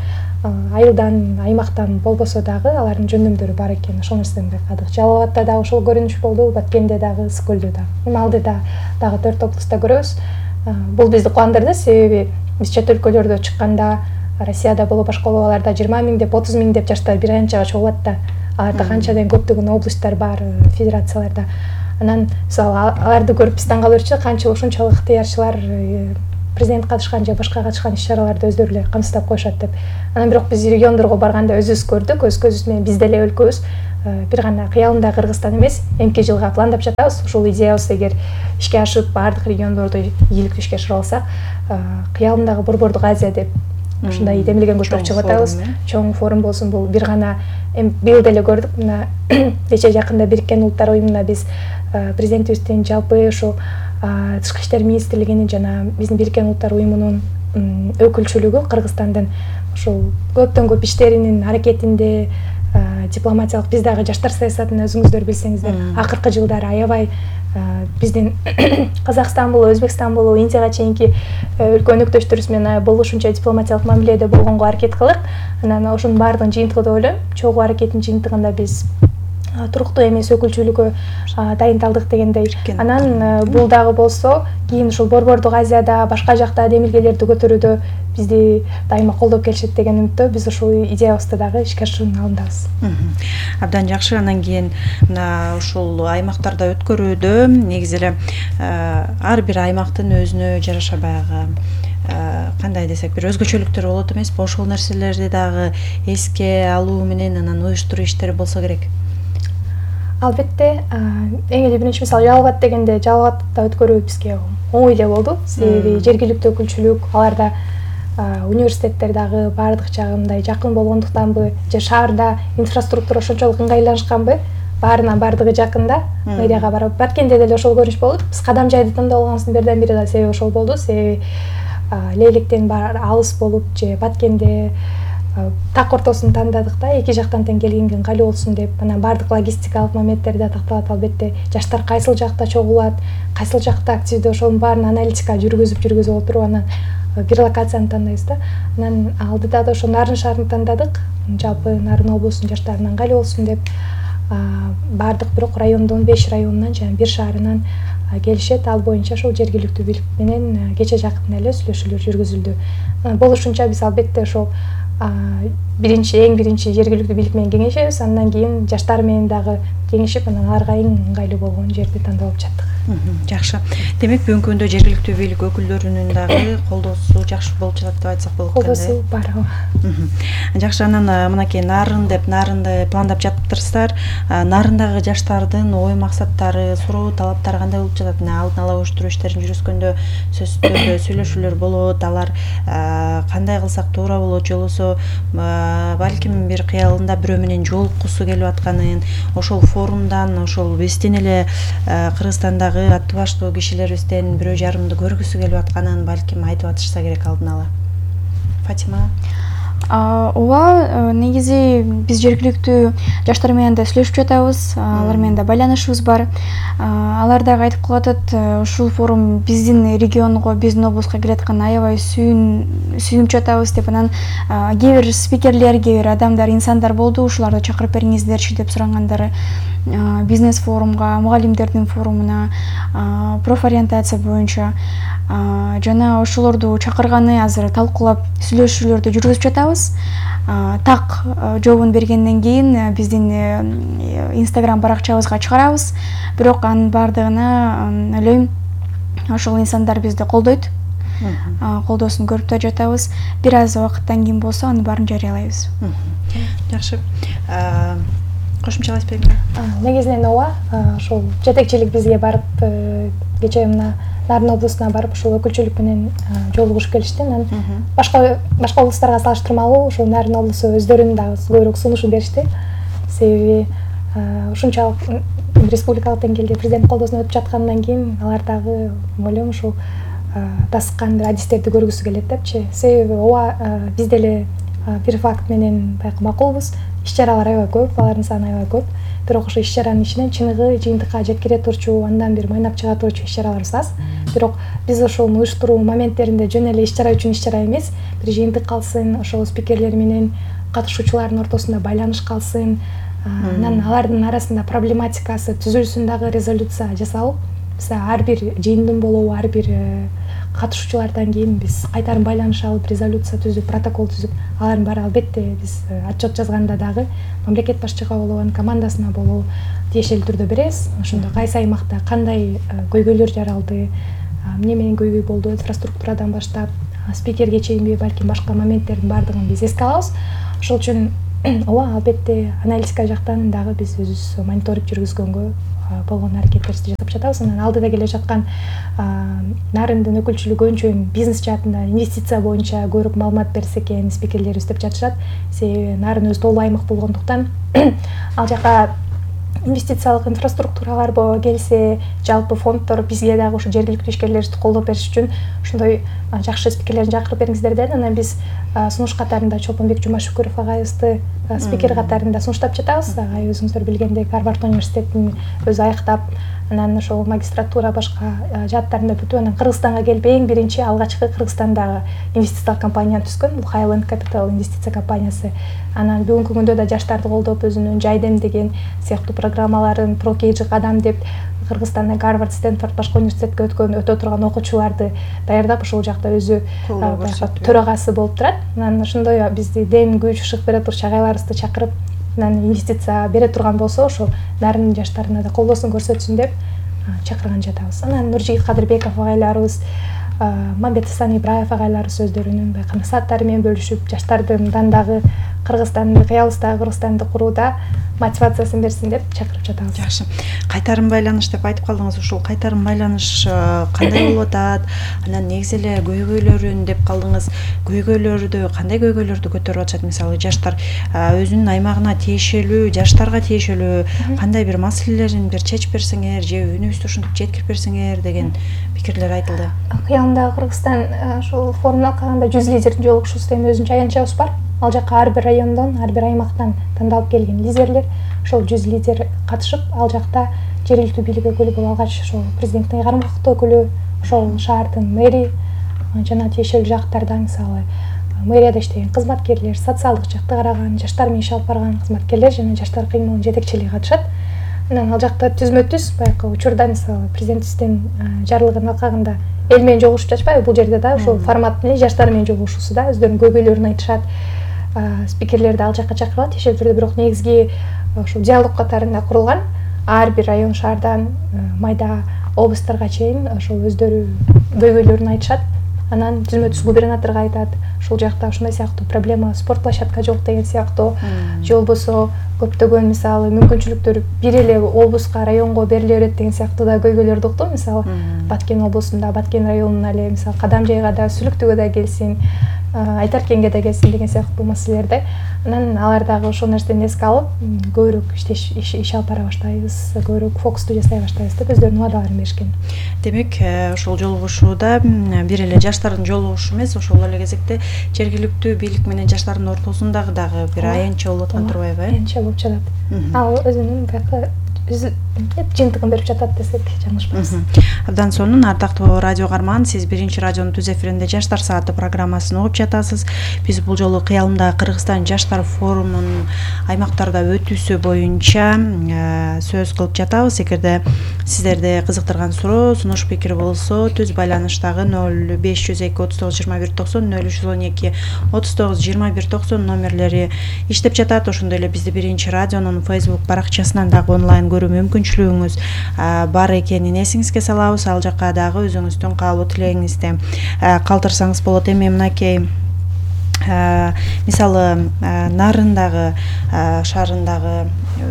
айылдан, аймактан болбосо дагы алардын жөндөмдөрү бар экен. Ошол нерседен байкадык. Жалал Абадта дагы ошол көрүнүш болду, Баткенде дагы, Ысыкөлдө дагы. Малдыда дагы 4 облустта көрөбүз. Бул бизди кубандырды, себеби биз чет өлкөлөрдө чыкканда, Россияда болобу, башка болобу, аларда 20 000 деп, 30 000 деп жаштар бир аянтчага чогулат да. Аларда канчадан көптөгөн областтар бар, федерацияларда. анан мисалы аларды көрүп биз таң калып берчү, канча ушунчалык ыктыярчылар президент катышкан же башка катышкан иш-чараларды өздөрү эле камсыздап коюшат деп. Анан бирок биз региондорго барганда өзүбүз көрдүк, өз көзүбүз менен биз деле өлкөбүз бир гана кыялымда Кыргызстан эмес, эмки жылга пландап жатабыз. Ушул идеябыз эгер ишке ашып, баардык региондорду ийгиликтүү ишке ашыра алсак, кыялымдагы Борбордук Азия деп ушундай демилген көчөрүп чыгып атабыз. Чоң форум болсун, бул бир гана быйыл деле көрдүк. Мына кече жакында Бириккен Улуттар уюмуна биз президентибиздин жалпы ушул Тышкы иштер министрлигинин жана биздин Бириккен Улуттар уюмунун өкүлчүлүгү Кыргызстандын ушул көптөн көп иштеринин аракетинде дипломатиялык биз дагы жаштар саясатын өзүңүздөр билсеңиздер, акыркы жылдары аябай биздин Казакстан болобу, Өзбекстан болобу, Индияга чейинки өлкө өнөктөштөрүбүз менен болушунча дипломатиялык мамиледе болгонго аракет кылдык. Анан ошонун баардыгынын жыйынтыгы деп ойлойм. Чогуу аракеттин жыйынтыгында биз туруктуу эмес өкүлчүлүккө дайындалдык дегендей. Анан бул дагы болсо кийин ушул Борбордук Азияда башка жакта демилгелерди көтөрүүдө бизди дайыма колдоп келишет деген үмүттө биз ушул идеябызды дагы ишке ашыруунун алдындабыз. Абдан жакшы. Анан кийин мына ушул аймактарда өткөрүүдө негизи эле ар бир аймактын өзүнө жараша баягы кандай десек бир өзгөчөлүктөр болот эмеспи? Ошол нерселерди дагы эске алуу менен анан уюштуруу иштери болсо керек. Албетте, эң эле биринчи мисалы Жалал-Абад дегенде Жалал-Абадда өткөрүү бизге оңой эле болду. Себеби жергиликтүү өкүлчүлүк, аларда университеттер дагы баардык жагындай жакын болгондуктанбы, же шаарда инфраструктура ошончолук ыңгайланышканбы, баардыгы жакында, мэрияга барып Баткенде деле ошол көрүнүш болду. Биз Кадам жайды тандап алганыбыздын бирден бири да себеби ошол болду. Себеби Лейлектен алыс болуп же Баткенде так ортосун тандадык да, эки жактан тең келгенге ыңгайлуу болсун деп. Анан баардык логистикалык моменттер да такталат. Албетте жаштар кайсыл жакта чогулат, кайсыл жакта активдүү, ошонун баарын аналитика жүргүзүп отуруп анан бир локацияны тандайбыз да. Анан алдыда да ошо Нарын шаарын тандадык. Жалпы Нарын облусунун жаштарына ыңгайлуу болсун деп баардык бирок райондон 5 районунан жана бир шаарынан келишет. Ал боюнча ошол жергиликтүү бийлик менен кече жакында эле сүйлөшүүлөр жүргүзүлдү. Болушунча биз албетте ошол эң биринчи жергиликтүү бийлик менен кеңешебиз, андан кийин жаштар менен дагы кеңешип, анан аларга эң ыңгайлуу болгон жерди тандап алып жаттык. Жакшы. Демек бүгүнкү күндө жергиликтүү бийлик өкүлдөрүнүн дагы колдоосу жакшы болуп жатат деп айтсак болот. Колдоосу бар. Жакшы. Анан мынакей Нарын деп нарынды пландап жатыптырсыздар. Нарындагы жаштардын ой максаттары, суроо талаптары кандай болуп жатат? Алдын ала уюштуруу иштерин жүргүзгөндө сөзсүз түрдө сүйлөшүүлөр болот. Алар кандай кылсак туура болот, же болбосо балким бир кыялында бирөө менен жолуккусу келип атканын, ошол форумдан, ошол биздин эле Кыргызстандагы аттуу баштуу кишилерибизден бирөө жарымды көргүсү келип атканын балким айтып атышса керек алдын ала. Фатима? Ооба, негизи биз жергиликтүү жаштар менен да сүйлөшүп жатабыз, алар менен да байланышыбыз бар. Алар дагы айтып калатат, ушул форум биздин регионго, биздин облуска келаткан аябай сүйүнүп жатабыз деп. Анан кээ бир спикерлер, кээ бир адамдар, инсандар болду, ушуларды чакырып бериңиздерчи деп сурагандары. Бизнес форумга, мугалимдердин форумуна, профориентация боюнча жана ошолорду чакырганы азыр талкуулап сүйлөшүүлөрдү жүргүзүп жатабыз. Так жообун бергенден кийин биздин Instagram баракчабызга чыгарабыз. Бирок анын баардыгына ойлойм ошол инсандар бизди колдойт. Колдоосун көрүп да жатабыз. Бир аз убакыттан кийин болсо анын баарын жарыялайбыз. Жакшы. Кошумчалайсыз беле? Негизинен ооба, ошол жетекчилик бизге барып, кечээ мына Нарын облусуна барып, ошол өкүлчүлүк менен жолугушуп келишти. Анан башка облустарга салыштырмалуу ошол Нарын облусу өздөрүнүн дагы көбүрөөк сунушун беришти. Себеби ушунчалык республикалык деңгээлде президент колдоосуна өтүп жаткандан кийин алар дагы ойлойм ушул тасыккан адистерди көргүсү келет депчи. Себеби ооба биз деле бир факт менен байкы макулбуз. Иш-чаралар аябай көп, алардын саны аябай көп. Бирок ошо иш-чаранын ичинен чыныгы жыйынтыкка жеткире турчу, андан бир майнап чыга турчу иш-чараларыбыз аз. Бирок биз ошол уюштуруу моменттеринде жөн эле иш-чара үчүн иш-чара эмес, бир жыйынтык калсын, ошол спикерлер менен катышуучулардын ортосунда байланыш калсын, анан алардын арасында проблематикасы түзүлсүн дагы резолюция жасалып, ар бир жыйындын болобу, ар бир катышуучулардан кийин биз кайтарым байланыш алып, резолюция түзүп, протокол түзүп, алардын баары албетте биз отчет жазганда дагы мамлекет башчыга болобу, командасына болобу тиешелүү түрдө беребиз. Ошондо кайсы аймакта кандай көйгөйлөр жаралды, эмне менен көйгөй болду, инфраструктурадан баштап спикерге чейинби, балким башка моменттердин баардыгын биз эске алабыз. Ошол үчүн ооба, албетте аналитика жактан дагы биз өзүбүз мониторинг жүргүзгөнгө болгон аракеттерибизди жасап жатабыз. Анан алдыда келе жаткан Нарындын өкүлчүлүгү көбүнчө бизнес жаатында инвестиция боюнча көбүрөөк маалымат берсе экен спикерлерибиз деп жатышат. Себеби Нарын өзү тоолуу аймак болгондуктан ал жака инвестициялык инфраструктуралар келсе, жалпы фонддор бизге дагы ушу жергиликтүү ишкерлерибизди колдоп бериш үчүн ошондой жакшы спикерлерди чакырып бериңиздер деп анан биз сунуш катарында Чолпонбек Жумашүкүров агайыбызды спикер катарында сунуштап жатабыз. Агай өзүңүздөр билгендей Гарвард университетин өзү аяктап, анан ошол магистратура башка жааттарында бүтүп, анан Кыргызстанга келип эң биринчи алгачкы Кыргызстандагы инвестициялык компанияны түзгөн. Бул Highland Capital инвестиция компаниясы. Анан бүгүнкү күндө да жаштарды колдоп, өзүнүн жайдем деген сыяктуу программаларын, прокейджи кадам деп Кыргызстанда Гарвард, Стэнфорд башка университетке өтө турган окуучуларды даярдап, ошол жакта өзү төрагасы болуп турат. Анан ошондой бизди дем күч шык бере турчу агайларыбызды чакырып, анан инвестиция бере турган болсо, ошол Нарындын жаштарына да колдоосун көрсөтсүн деп чакырган жатабыз. Анан Нуржигит Кадырбеков агайларыбыз, Мамбет Асан Ибраев агайларыбыз өздөрүнүн байкы насааттары менен бөлүшүп, жаштардын дагы Кыргызстанды, кыялыбыздагы Кыргызстанды курууда мотивациясын берсин деп чакырып жатабыз. Жакшы. Кайтарым байланыш деп айтып калдыңыз. Ушул кайтарым байланыш кандай болуп атат? Анан негизи эле көйгөйлөрүн деп калдыңыз. Кандай көйгөйлөрдү көтөрүп атышат? Мисалы, жаштар өзүнүн аймагына тиешелүү, жаштарга тиешелүү кандай бир маселелерин бир чечип берсеңер, же үнүбүздү ушинтип жеткирип берсеңер деген пикирлер айтылды. Кыялымдагы Кыргызстан ошол форумда калганда 100 лидердин жолугушуусу деген өзүнчө аянтчабыз бар. Ал жака ар бир райондон, ар бир аймактан тандалып келген лидерлер, ошол 100 лидер катышып, ал жакта жергиликтүү бийлик өкүлү болуп, алгач ошол президенттин ыйгарым укуктуу өкүлү, ошол шаардын мэри жана тиешелүү жактарда, мисалы мэрияда иштеген кызматкерлер, социалдык жакты караган, жаштар менен иш алып барган кызматкерлер жана жаштар кыймылынын жетекчилиги катышат. Анан ал жакта түзмө-түз байкы учурда, мисалы президентибиздин жарлыгынын алкагында эл менен жолугушуп жатышпайбы? Бул жерде да ошол формат менен жаштар менен жолугушуусуда өздөрүнүн көйгөйлөрүн айтышат. Спикерлерди ал жака чакырылат тиешелүү түрдө, бирок негизги ошол диалог катарында курулган. Ар бир район шаардан майда облустарга чейин ошол өздөрү көйгөйлөрүн айтышат. Анан түзмө-түз губернаторго айтат. Ушул жакта ушундай сыяктуу проблема, спорт площадка жок деген сыяктуу, же болбосо көптөгөн мисалы мүмкүнчүлүктөр бир эле облуска, районго бериле берет деген сыяктуу да көйгөйлөрдү уктум. Мисалы Баткен облусунда, Баткен районуна эле, мисалы Кадамжайга да, Сүлүктүгө да келсин, Айтаркенге да келсин деген сыяктуу маселелерди. Анан алар дагы ошол нерсени эске алып, көбүрөөк иш алып бара баштайбыз, көбүрөөк фокусту жасай баштайбыз деп өздөрүнүн убадаларын беришкен. Демек, ошол жолугушууда бир эле жаштардын жолугушуу эмес, ошол эле кезекте жергиликтүү бийлик менен жаштардын ортосундагы дагы бир аянтча болуп аткан турбайбы? Аянтча болуп жатат. Ал өзүнүн байкы жыйынтыгын берип жатат десек жаңылышпайбыз. Абдан сонун, ардактуу радио каарман, сиз биринчи радионун түз эфиринде Жаштар сааты программасын угуп жатасыз. Биз бул жолу кыялымдагы Кыргызстан жаштар форумунун аймактарда өтүүсү боюнча сөз кылып жатабыз. Эгерде сиздерди кызыктырган суроо, сунуш пикир болсо, түз байланыштагы 0502 39 21 90, 0312 39 21 90 номерлери иштеп жатат. Ошондой эле бизди биринчи радионун Facebook баракчасынан дагы онлайн көрүү мүмкүнчүлүгүңүз бар экенин эсиңизге салабыз. Ал жакка дагы өзүңүздүн каалоо тилегиңизди калтырсаңыз болот. Эми мынакей мисалы Нарындагы шаарындагы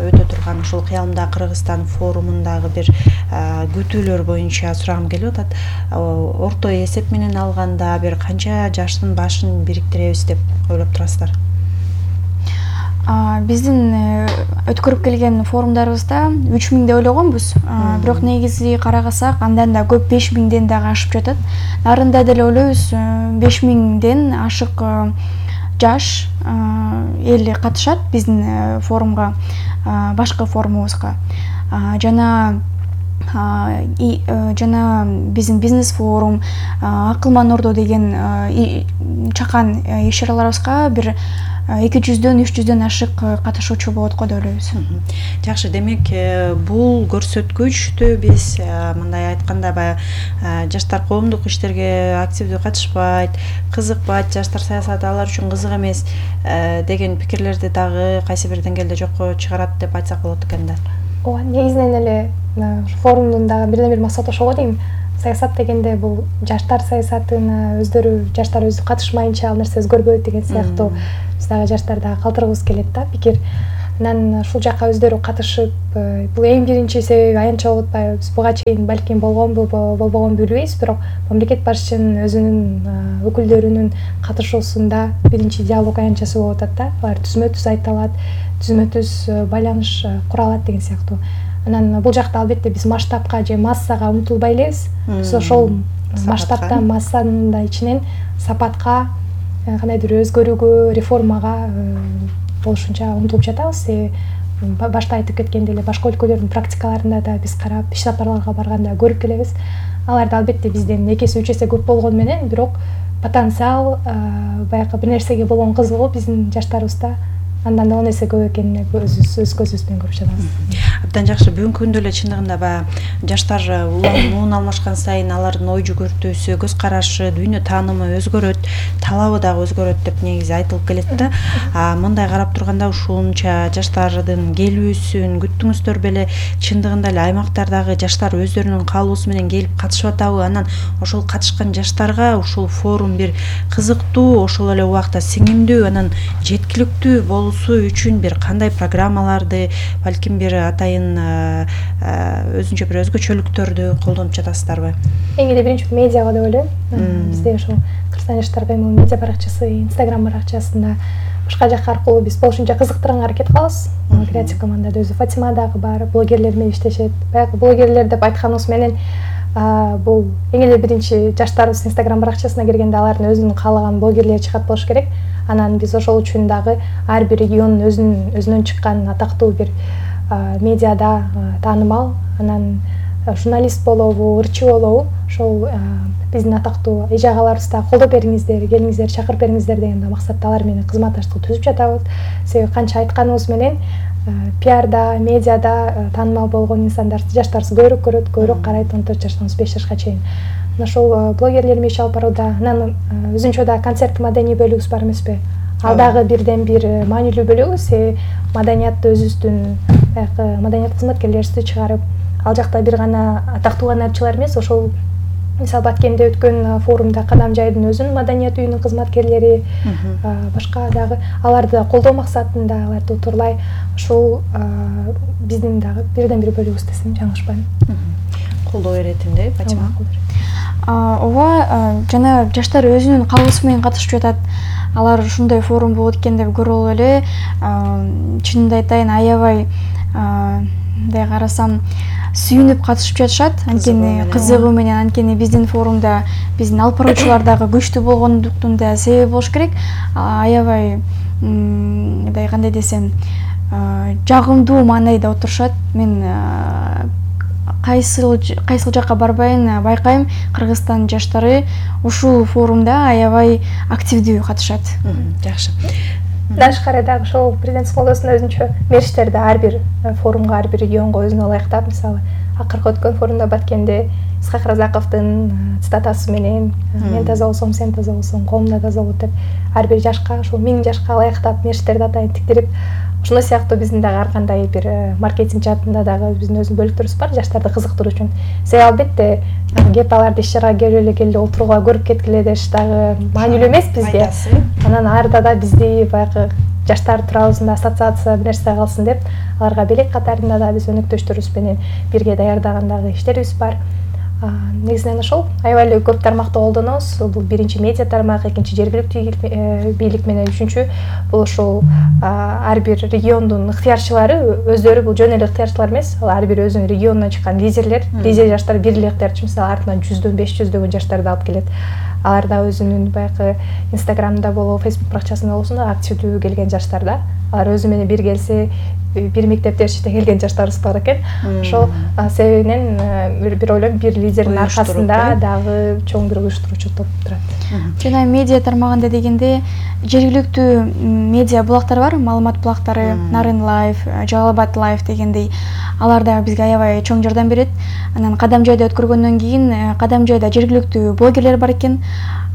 өтө турган ушул кыялымдагы Кыргызстан форумундагы бир күтүүлөр боюнча сурагым келип атат. Орто эсеп менен алганда бир канча жаштын башын бириктиребиз деп ойлоп турасыздар? Биздин өткөрүп келген форумдарыбызда 3000 деп ойлогонбуз. Бирок негизи карагасак, андан да көп 5000ден дагы ашып жатат. Нарында деле ойлойбуз 5000ден ашык жаш эл катышат биздин форумга, башкы форумубузга. Жана жана биздин бизнес форум, акылман ордо деген чакан иш-чараларыбызга бир 200-дөн 300-дөн ашык катышуучу болот го деп ойлойбуз. Жакшы, демек бул көрсөткүчтү биз мындай айтканда баягы жаштар коомдук иштерге активдүү катышпайт, кызыкпайт, жаштар саясаты алар үчүн кызык эмес деген пикирлерди дагы кайсы бир деңгээлде жокко чыгарат деп айтсак болот экен да. Ооба, негизинен эле форумдун дагы бирден бир максаты ошол го дейм. Саясат дегенде бул жаштар саясатына жаштар өзү катышмайынча ал нерсе өзгөрбөйт деген сыяктуу биз дагы жаштар дагы калтыргыбыз келет да пикир. Анан ушул жакка өздөрү катышып, бул эң биринчи себеби аянтча болуп атпайбы? Биз буга чейин балким болгонбу, болбогонбу билбейбиз, бирок мамлекет башчынын өзүнүн өкүлдөрүнүн катышуусунда биринчи диалог аянтчасы болуп атат да. Алар түзмө-түз айталат, түзмө-түз байланыш куралат деген сыяктуу. Анан бул жакта албетте биз масштабка же массага умтулбай элебиз. Биз ошол масштабта, массанын да ичинен сапатка, кандайдыр өзгөрүүгө, реформага болушунча умтулуп жатабыз. Башта айтып кеткендей эле башка өлкөлөрдүн практикаларында да биз карап, иш сапарларга барганда көрүп келебиз. Аларда албетте бизден 2 эсе 3 эсе көп болгону менен, бирок потенциал, баягы бир нерсеге болгон кызыгуу биздин жаштарыбызда андан да 10 эсе көп экенин өз көзүбүз менен көрүп жатабыз. Абдан жакшы. Бүгүнкү күндө эле чындыгында баягы жаштар улам алмашкан сайын алардын ой жүгүртүүсү, көз карашы, дүйнө таанымы өзгөрөт, талабы дагы өзгөрөт деп негизи айтылып келет да. Мындай карап турганда ушунча жаштардын келүүсүн күттүңүздөр беле? Чындыгында эле аймактардагы жаштар өздөрүнүн каалоосу менен келип катышып атабы? Анан ошол катышкан жаштарга ушул форум бир кызыктуу, ошол эле убакта сиңимдүү, анан жеткиликтүү болуусу үчүн бир кандай программаларды, балким бир атайын өзүнчө бир өзгөчөлүктөрдү колдонуп жатасыздарбы? Эң эле биринчи медиага деп ойлойм. Бизде ошол Кыргызстан жаштар каймыл медиа баракчасы, Instagram баракчасында башка жак аркылуу биз болушунча кызыктырганга аракет кылабыз. Креатив командада өзү Фатима дагы бар, блогерлер менен иштешет. Баягы блогерлер деп айтканыбыз менен бул эң эле биринчи жаштарыбыз Instagram баракчасына киргенде алардын өзүнүн каалаган блогерлери чыгат болуш керек. Анан биз ошол үчүн дагы ар бир региондун өзүнөн чыккан атактуу бир медиада таанымал, анан журналист болобу, ырчы болобу, ошол биздин атактуу эже агаларыбызда колдоп бериңиздер, келиңиздер, чакырып бериңиздер деген максатта алар менен кызматташтык түзүп жатабыз. Себеби канча айтканыбыз менен пиарда, медиада таанымал болгон инсандарды жаштарыбыз көбүрөөк көрөт, көбүрөөк карайт 14 жаштан 35 жашка чейин. Ошол блогерлер менен иш алып барууда, анан өзүнчө да концерт маданий бөлүгүбүз бар эмеспи? Ал дагы бирден бир маанилүү бөлүгүбүз. Маданиятты өзүбүздүн маданият кызматкерлерибизди чыгарып, ал жакта бир гана атактуу ырчылар эмес, ошол мисалы Баткенде өткөн форумда Кадам жайдын өзүнүн маданият үйүнүн кызматкерлери, башка дагы аларды колдоо максатында, аларды утурлай ошол биздин дагы бирден бир бөлүгүбүз десем жаңылышпайм. Колдоо беретинде, Фатима? Ооба, жана жаштар өзүнүн каалоосу менен катышып жатат. Алар ушундай форум болот экен деп көрүп эле, чынымды айтайын, аябай мындай карасам сүйүнүп катышып жатышат. Анткени кызыгуу менен, анткени биздин форумда биздин алып баруучулар дагы күчтүү болгондуктун да себеби болуш керек. Аябай мындай кандай десем, жагымдуу маанайда отурушат. Мен кайсыл жакка барбайын байкайм, Кыргызстан жаштары ушул форумда аябай активдүү катышат. Жакшы. Тышкары дагы ошол президент смолосунда өзүнчө мерчтерди ар бир форумга, ар бир регионго өзүнө ылайыктап, мисалы акыркы өткөн форумда Баткенде Исхак Разаковдун цитатасы менен мен таза болсом, сен таза болсоң, коом да таза болот деп ар бир жашка, ошол 1000 жашка ылайыктап мерчтерди атайын тиктирип, ошондой сыяктуу биздин дагы ар кандай бир маркетинг жаатында дагы биздин өзүнүн бөлүктөрүбүз бар жаштарды кызыктыруу үчүн. Себеби албетте кеп аларды иш-чарага келип отурууга, көрүп кеткиле деш дагы маанилүү эмес бизге. Анан арда да бизди баягы жаштар туурабызда ассоциация бир нерсе калсын деп аларга белек катарында да биз өнөктөштөрүбүз менен бирге даярдаган дагы иштерибиз бар. Негизинен ошол аябай эле көп тармакты колдонобуз. Бул биринчи медиа тармак, экинчи жергиликтүү бийлик менен, үчүнчү бул ошол ар бир региондун ыктыярчылары өздөрү, бул жөн эле ыктыярчылар эмес, ал ар бир өзүнүн регионунан чыккан лидер жаштар бир эле ыктыярчы, мисалы артынан 100-дөн 500 жаштарды алып келет. алар да өзүнүн баягы Инстаграмда болобу, Фейсбук баракчасында болсун активдүү келген жаштар да. Алар өзү менен бир келсе, бир мектептеште келген жаштарыбыз бар экен. Ошол себебинен бир ойлойм, бир лидердин аркасында дагы чоң бир уюштуруучу топ турат. Жана медиа тармагында дегенде жергиликтүү медиа булактар бар, маалымат булактары, Нарын Лайв, Жалал Абад Лайв дегендей. Алар да бизге аябай чоң жардам берет. Анан Кадам жайда өткөргөндөн кийин Кадам жайда жергиликтүү блогерлер бар экен.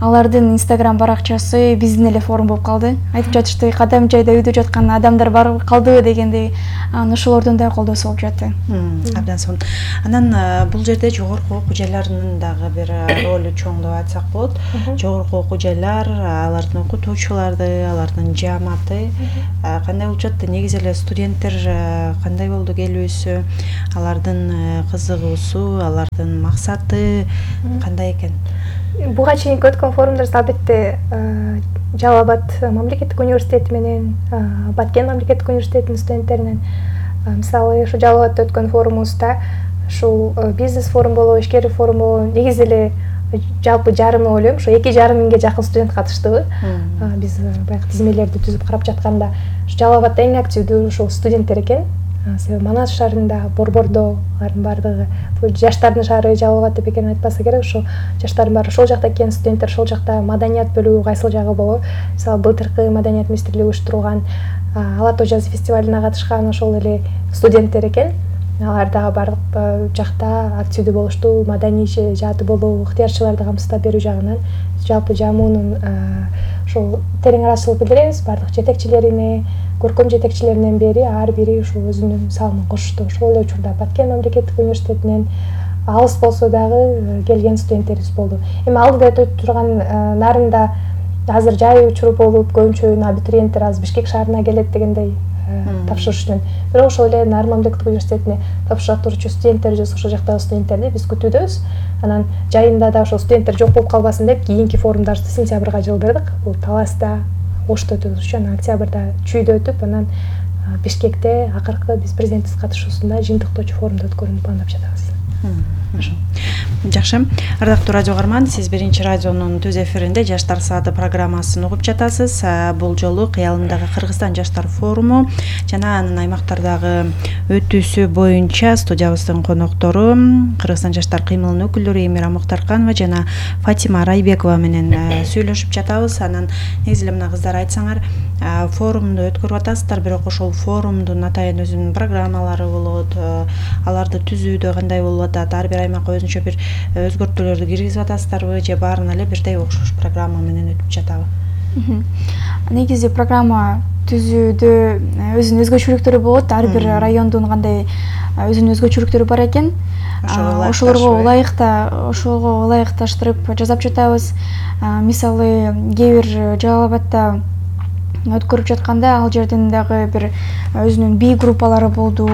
Алардын Инстаграм баракчасы биздин эле форум болуп калды. Айтып жатышты, Кадам жайда үйдө жаткан адамдар бар калды дегендей. Ошолордун да колдосу болуп жатты. Абдан сонун. Анан бул жерде жогорку окуу жайларынын дагы бир ролу чоң деп айтсак болот. Жогорку окуу жайлар, алардын окутуучулары, алардын жааматы кандай болуп жатты? Негизи эле студенттер кандай болду келүүсү, алардын кызыгуусу, алардын максаты кандай экен? Буга чейинки өткөн форумдарыбыз албетте Жалал Абад мамлекеттик университети менен Баткен мамлекеттик университетинин студенттеринен, мисалы ушу Жалал Абадта өткөн форумубузда ушул бизнес форум болобу, ишкер форум болобу, негизи эле жалпы жарымы ойлойм, ушу 2,5 миңге жакын студент катыштыбы. Биз баягы тизмелерди түзүп карап жатканда, Жалал Абадта эң активдүү ушул студенттер экен. Себеби Манас шаарында, Борбордо алардын баардыгы жаштардын шаары Жалал Абад деп экен айтпаса керек, ошо жаштардын баары ошол жакта экен, студенттер ошол жакта, маданият бөлүгү кайсыл жагы болобу. Мисалы былтыркы маданият министрлиги уюштурган Ала Тоо жазы фестивалине катышкан ошол эле студенттер экен. Алар дагы бардык жакта активдүү болушту, маданий жааты болобу, ыктыярчыларды камсыздап берүү жагынан жалпы жамуунун ошол терең ыраазычылык билдиребиз. Бардык жетекчилерине, көркөм жетекчилеринен бери ар бири ушул өзүнүн салымын кошушту. Ошол эле учурда Баткен мамлекеттик университетинен алыс болсо дагы келген студенттерибиз болду. Эми алдыда өтүп турган Нарында азыр жай учур болуп, көбүнчө абитуриенттер азыр Бишкек шаарына келет дегендей тапшырыш үчүн. Бирок ошол эле Нарын мамлекеттик университетине тапшырып турчу студенттер же ошол жактагы студенттерди биз күтүүдөбүз. Анан жайында да ошол студенттер жок болуп калбасын деп кийинки форумдарыбызды сентябрга жылдырдык. Бул Таласта, Ошто өтөбүз, анан октябрда Чүйдө өтүп, анан Бишкекте акыркы биз президенттик катышуусунда жыйынтыктоочу форумду өткөрүүнү пландап жатабыз. Жакшы. Ардактуу радио угарман, сиз Биринчи радионун түз эфиринде Жаштар сааты программасын угуп жатасыз. Бул жолу Кыялымдагы Кыргызстан жаштар форуму жана анын аймактардагы өтүүсү боюнча студиябыздын коноктору Кыргызстан жаштар кыймылынын өкүлдөрү Эмира Муктарканова жана Фатима Райбекова менен сүйлөшүп жатабыз. Анан негизи эле мына кыздар айтсаңар, форумду өткөрүп атасыздар, бирок ошол форумдун атайын өзүнүн программалары болот, аларды түзүүдө кандай болуп атат, ар бир аймакка өзүнчө бир өзгөртүүлөрдү киргизип атасыздарбы же баарына эле бирдей окшош программа менен өтүп жатабы? Негизи программа түзүүдө өзүнүн өзгөчөлүктөрү болот. Ар бир райондун кандай өзүнүн өзгөчөлүктөрү бар экен. Ошолорго ылайыкташтырып жасап жатабыз. Мисалы, кээ бир Жалал Абадта өткөрүп жатканда ал жерден дагы бир өзүнүн би группалары болду,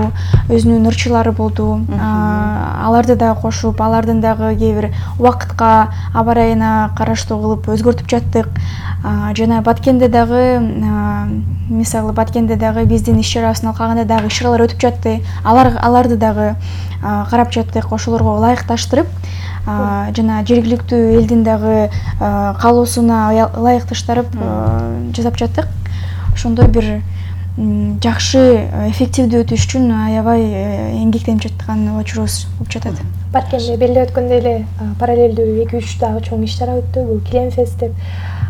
өзүнүн ырчылары болду. Аларды да кошуп, алардын дагы кээ бир убакытка, аба ырайына караштуу кылып өзгөртүп жаттык. Жана Баткенде дагы, мисалы Баткенде дагы биздин иш чарабыздын алкагында дагы иш чаралар өтүп жатты. Аларды дагы карап жаттык, ошолорго ылайыкташтырып, жана жергиликтүү элдин дагы каалоосуна ылайыкташтырып жасап жаттык. Ошондой бир жакшы, эффективдүү өтүш үчүн аябай эмгектенип жаткан учурубуз болуп жатат. Баткенде белде өткөндө эле параллелдүү 2-3 дагы чоң иш чара өттү. Бул Клемфест деп.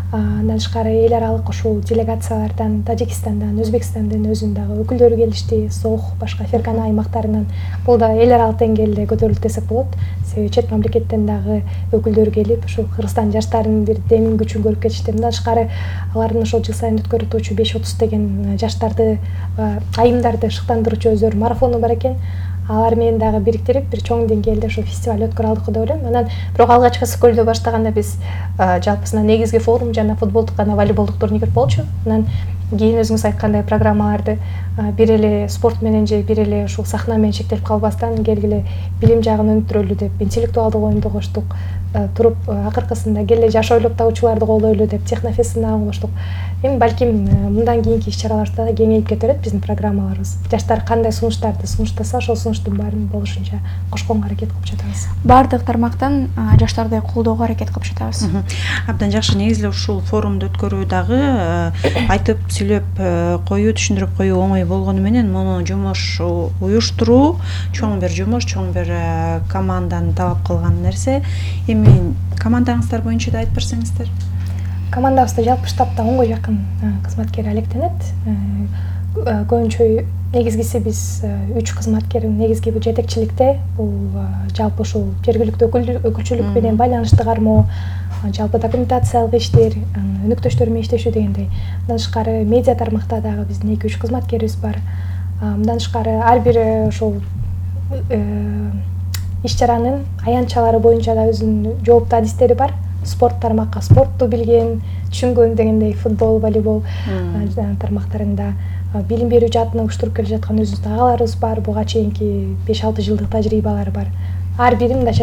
Андан тышкары эл аралык ушул делегациялардан, Тажикстандан, Өзбекстандын өзүнүн дагы өкүлдөрү келишти, Сох, башка Фергана аймактарынан. Бул да эл аралык деңгээлде көтөрүлдү десек болот. Себеби чет мамлекеттен дагы өкүлдөр келип, ушул Кыргызстан жаштарынын бир демин күчүн көрүп кетишти. Мындан тышкары алардын ошол жыл сайын өткөрүлүүчү 5:30 деген жаштарды, айымдарды шыктандыруучу өздөрү марафону бар экен. Алар менен дагы бириктирип бир чоң деңгээлде ошо фестиваль өткөрө алдык деп ойлойм. Анан бирок алгачкы көйдө баштаганда биз жалпысынан негизги форум жана футболдук жана волейболдук турнир болчу. Анан кийин өзүңүз айткандай программаларды бир эле спорт менен же бир эле ушул сахна менен чектелип калбастан келгиле билим жагын өнүктүрөлү деп интеллектуалдык оюнду коштук. туруп акыркысында келе жаш ойлоп табуучуларды колдойлу деп технофестин дагы коштук. Эми балким мындан кийинки иш-чараларда да кеңейип кете берет биздин программаларыбыз. Жаштар кандай сунуштарды сунуштаса, ошол сунуштун баарын болушунча кошконго аракет кылып жатабыз. Баардык тармактан жаштарды колдоого аракет кылып жатабыз. Абдан жакшы. Негизи эле ушул форумду өткөрүү дагы айтып сүйлөп коюу, түшүндүрүп коюу оңой болгону менен муну жумуш уюштуруу чоң бир жумуш, чоң бир команданы талап кылган нерсе. Эми командаңыздар боюнча да айтып берсеңиздер. Командабызда жалпы штабта 10га жакын кызматкер алектенет. Көбүнчө негизгиси биз 3 кызматкер негизги бул жетекчиликте, бул жалпы ушул жергиликтүү өкүлчүлүк менен байланышты кармоо, жалпы документациялык иштер, өнөктөштөр менен иштешүү дегендей. Мындан тышкары медиа тармакта дагы биздин 2-3 кызматкерибиз бар. Мындан тышкары ар бир ошол иш-чаранын аянтчалары боюнча да өзүнүн жооптуу адистери бар. Спорт тармакка спортту билген, түшүнгөн дегендей футбол, волейбол тармактарында билим берүү жаатына уюштуруп келе жаткан өзүбүздүн агаларыбыз бар. Буга чейинки 5-6 жылдык тажрыйбалары бар. Ар бири мындайча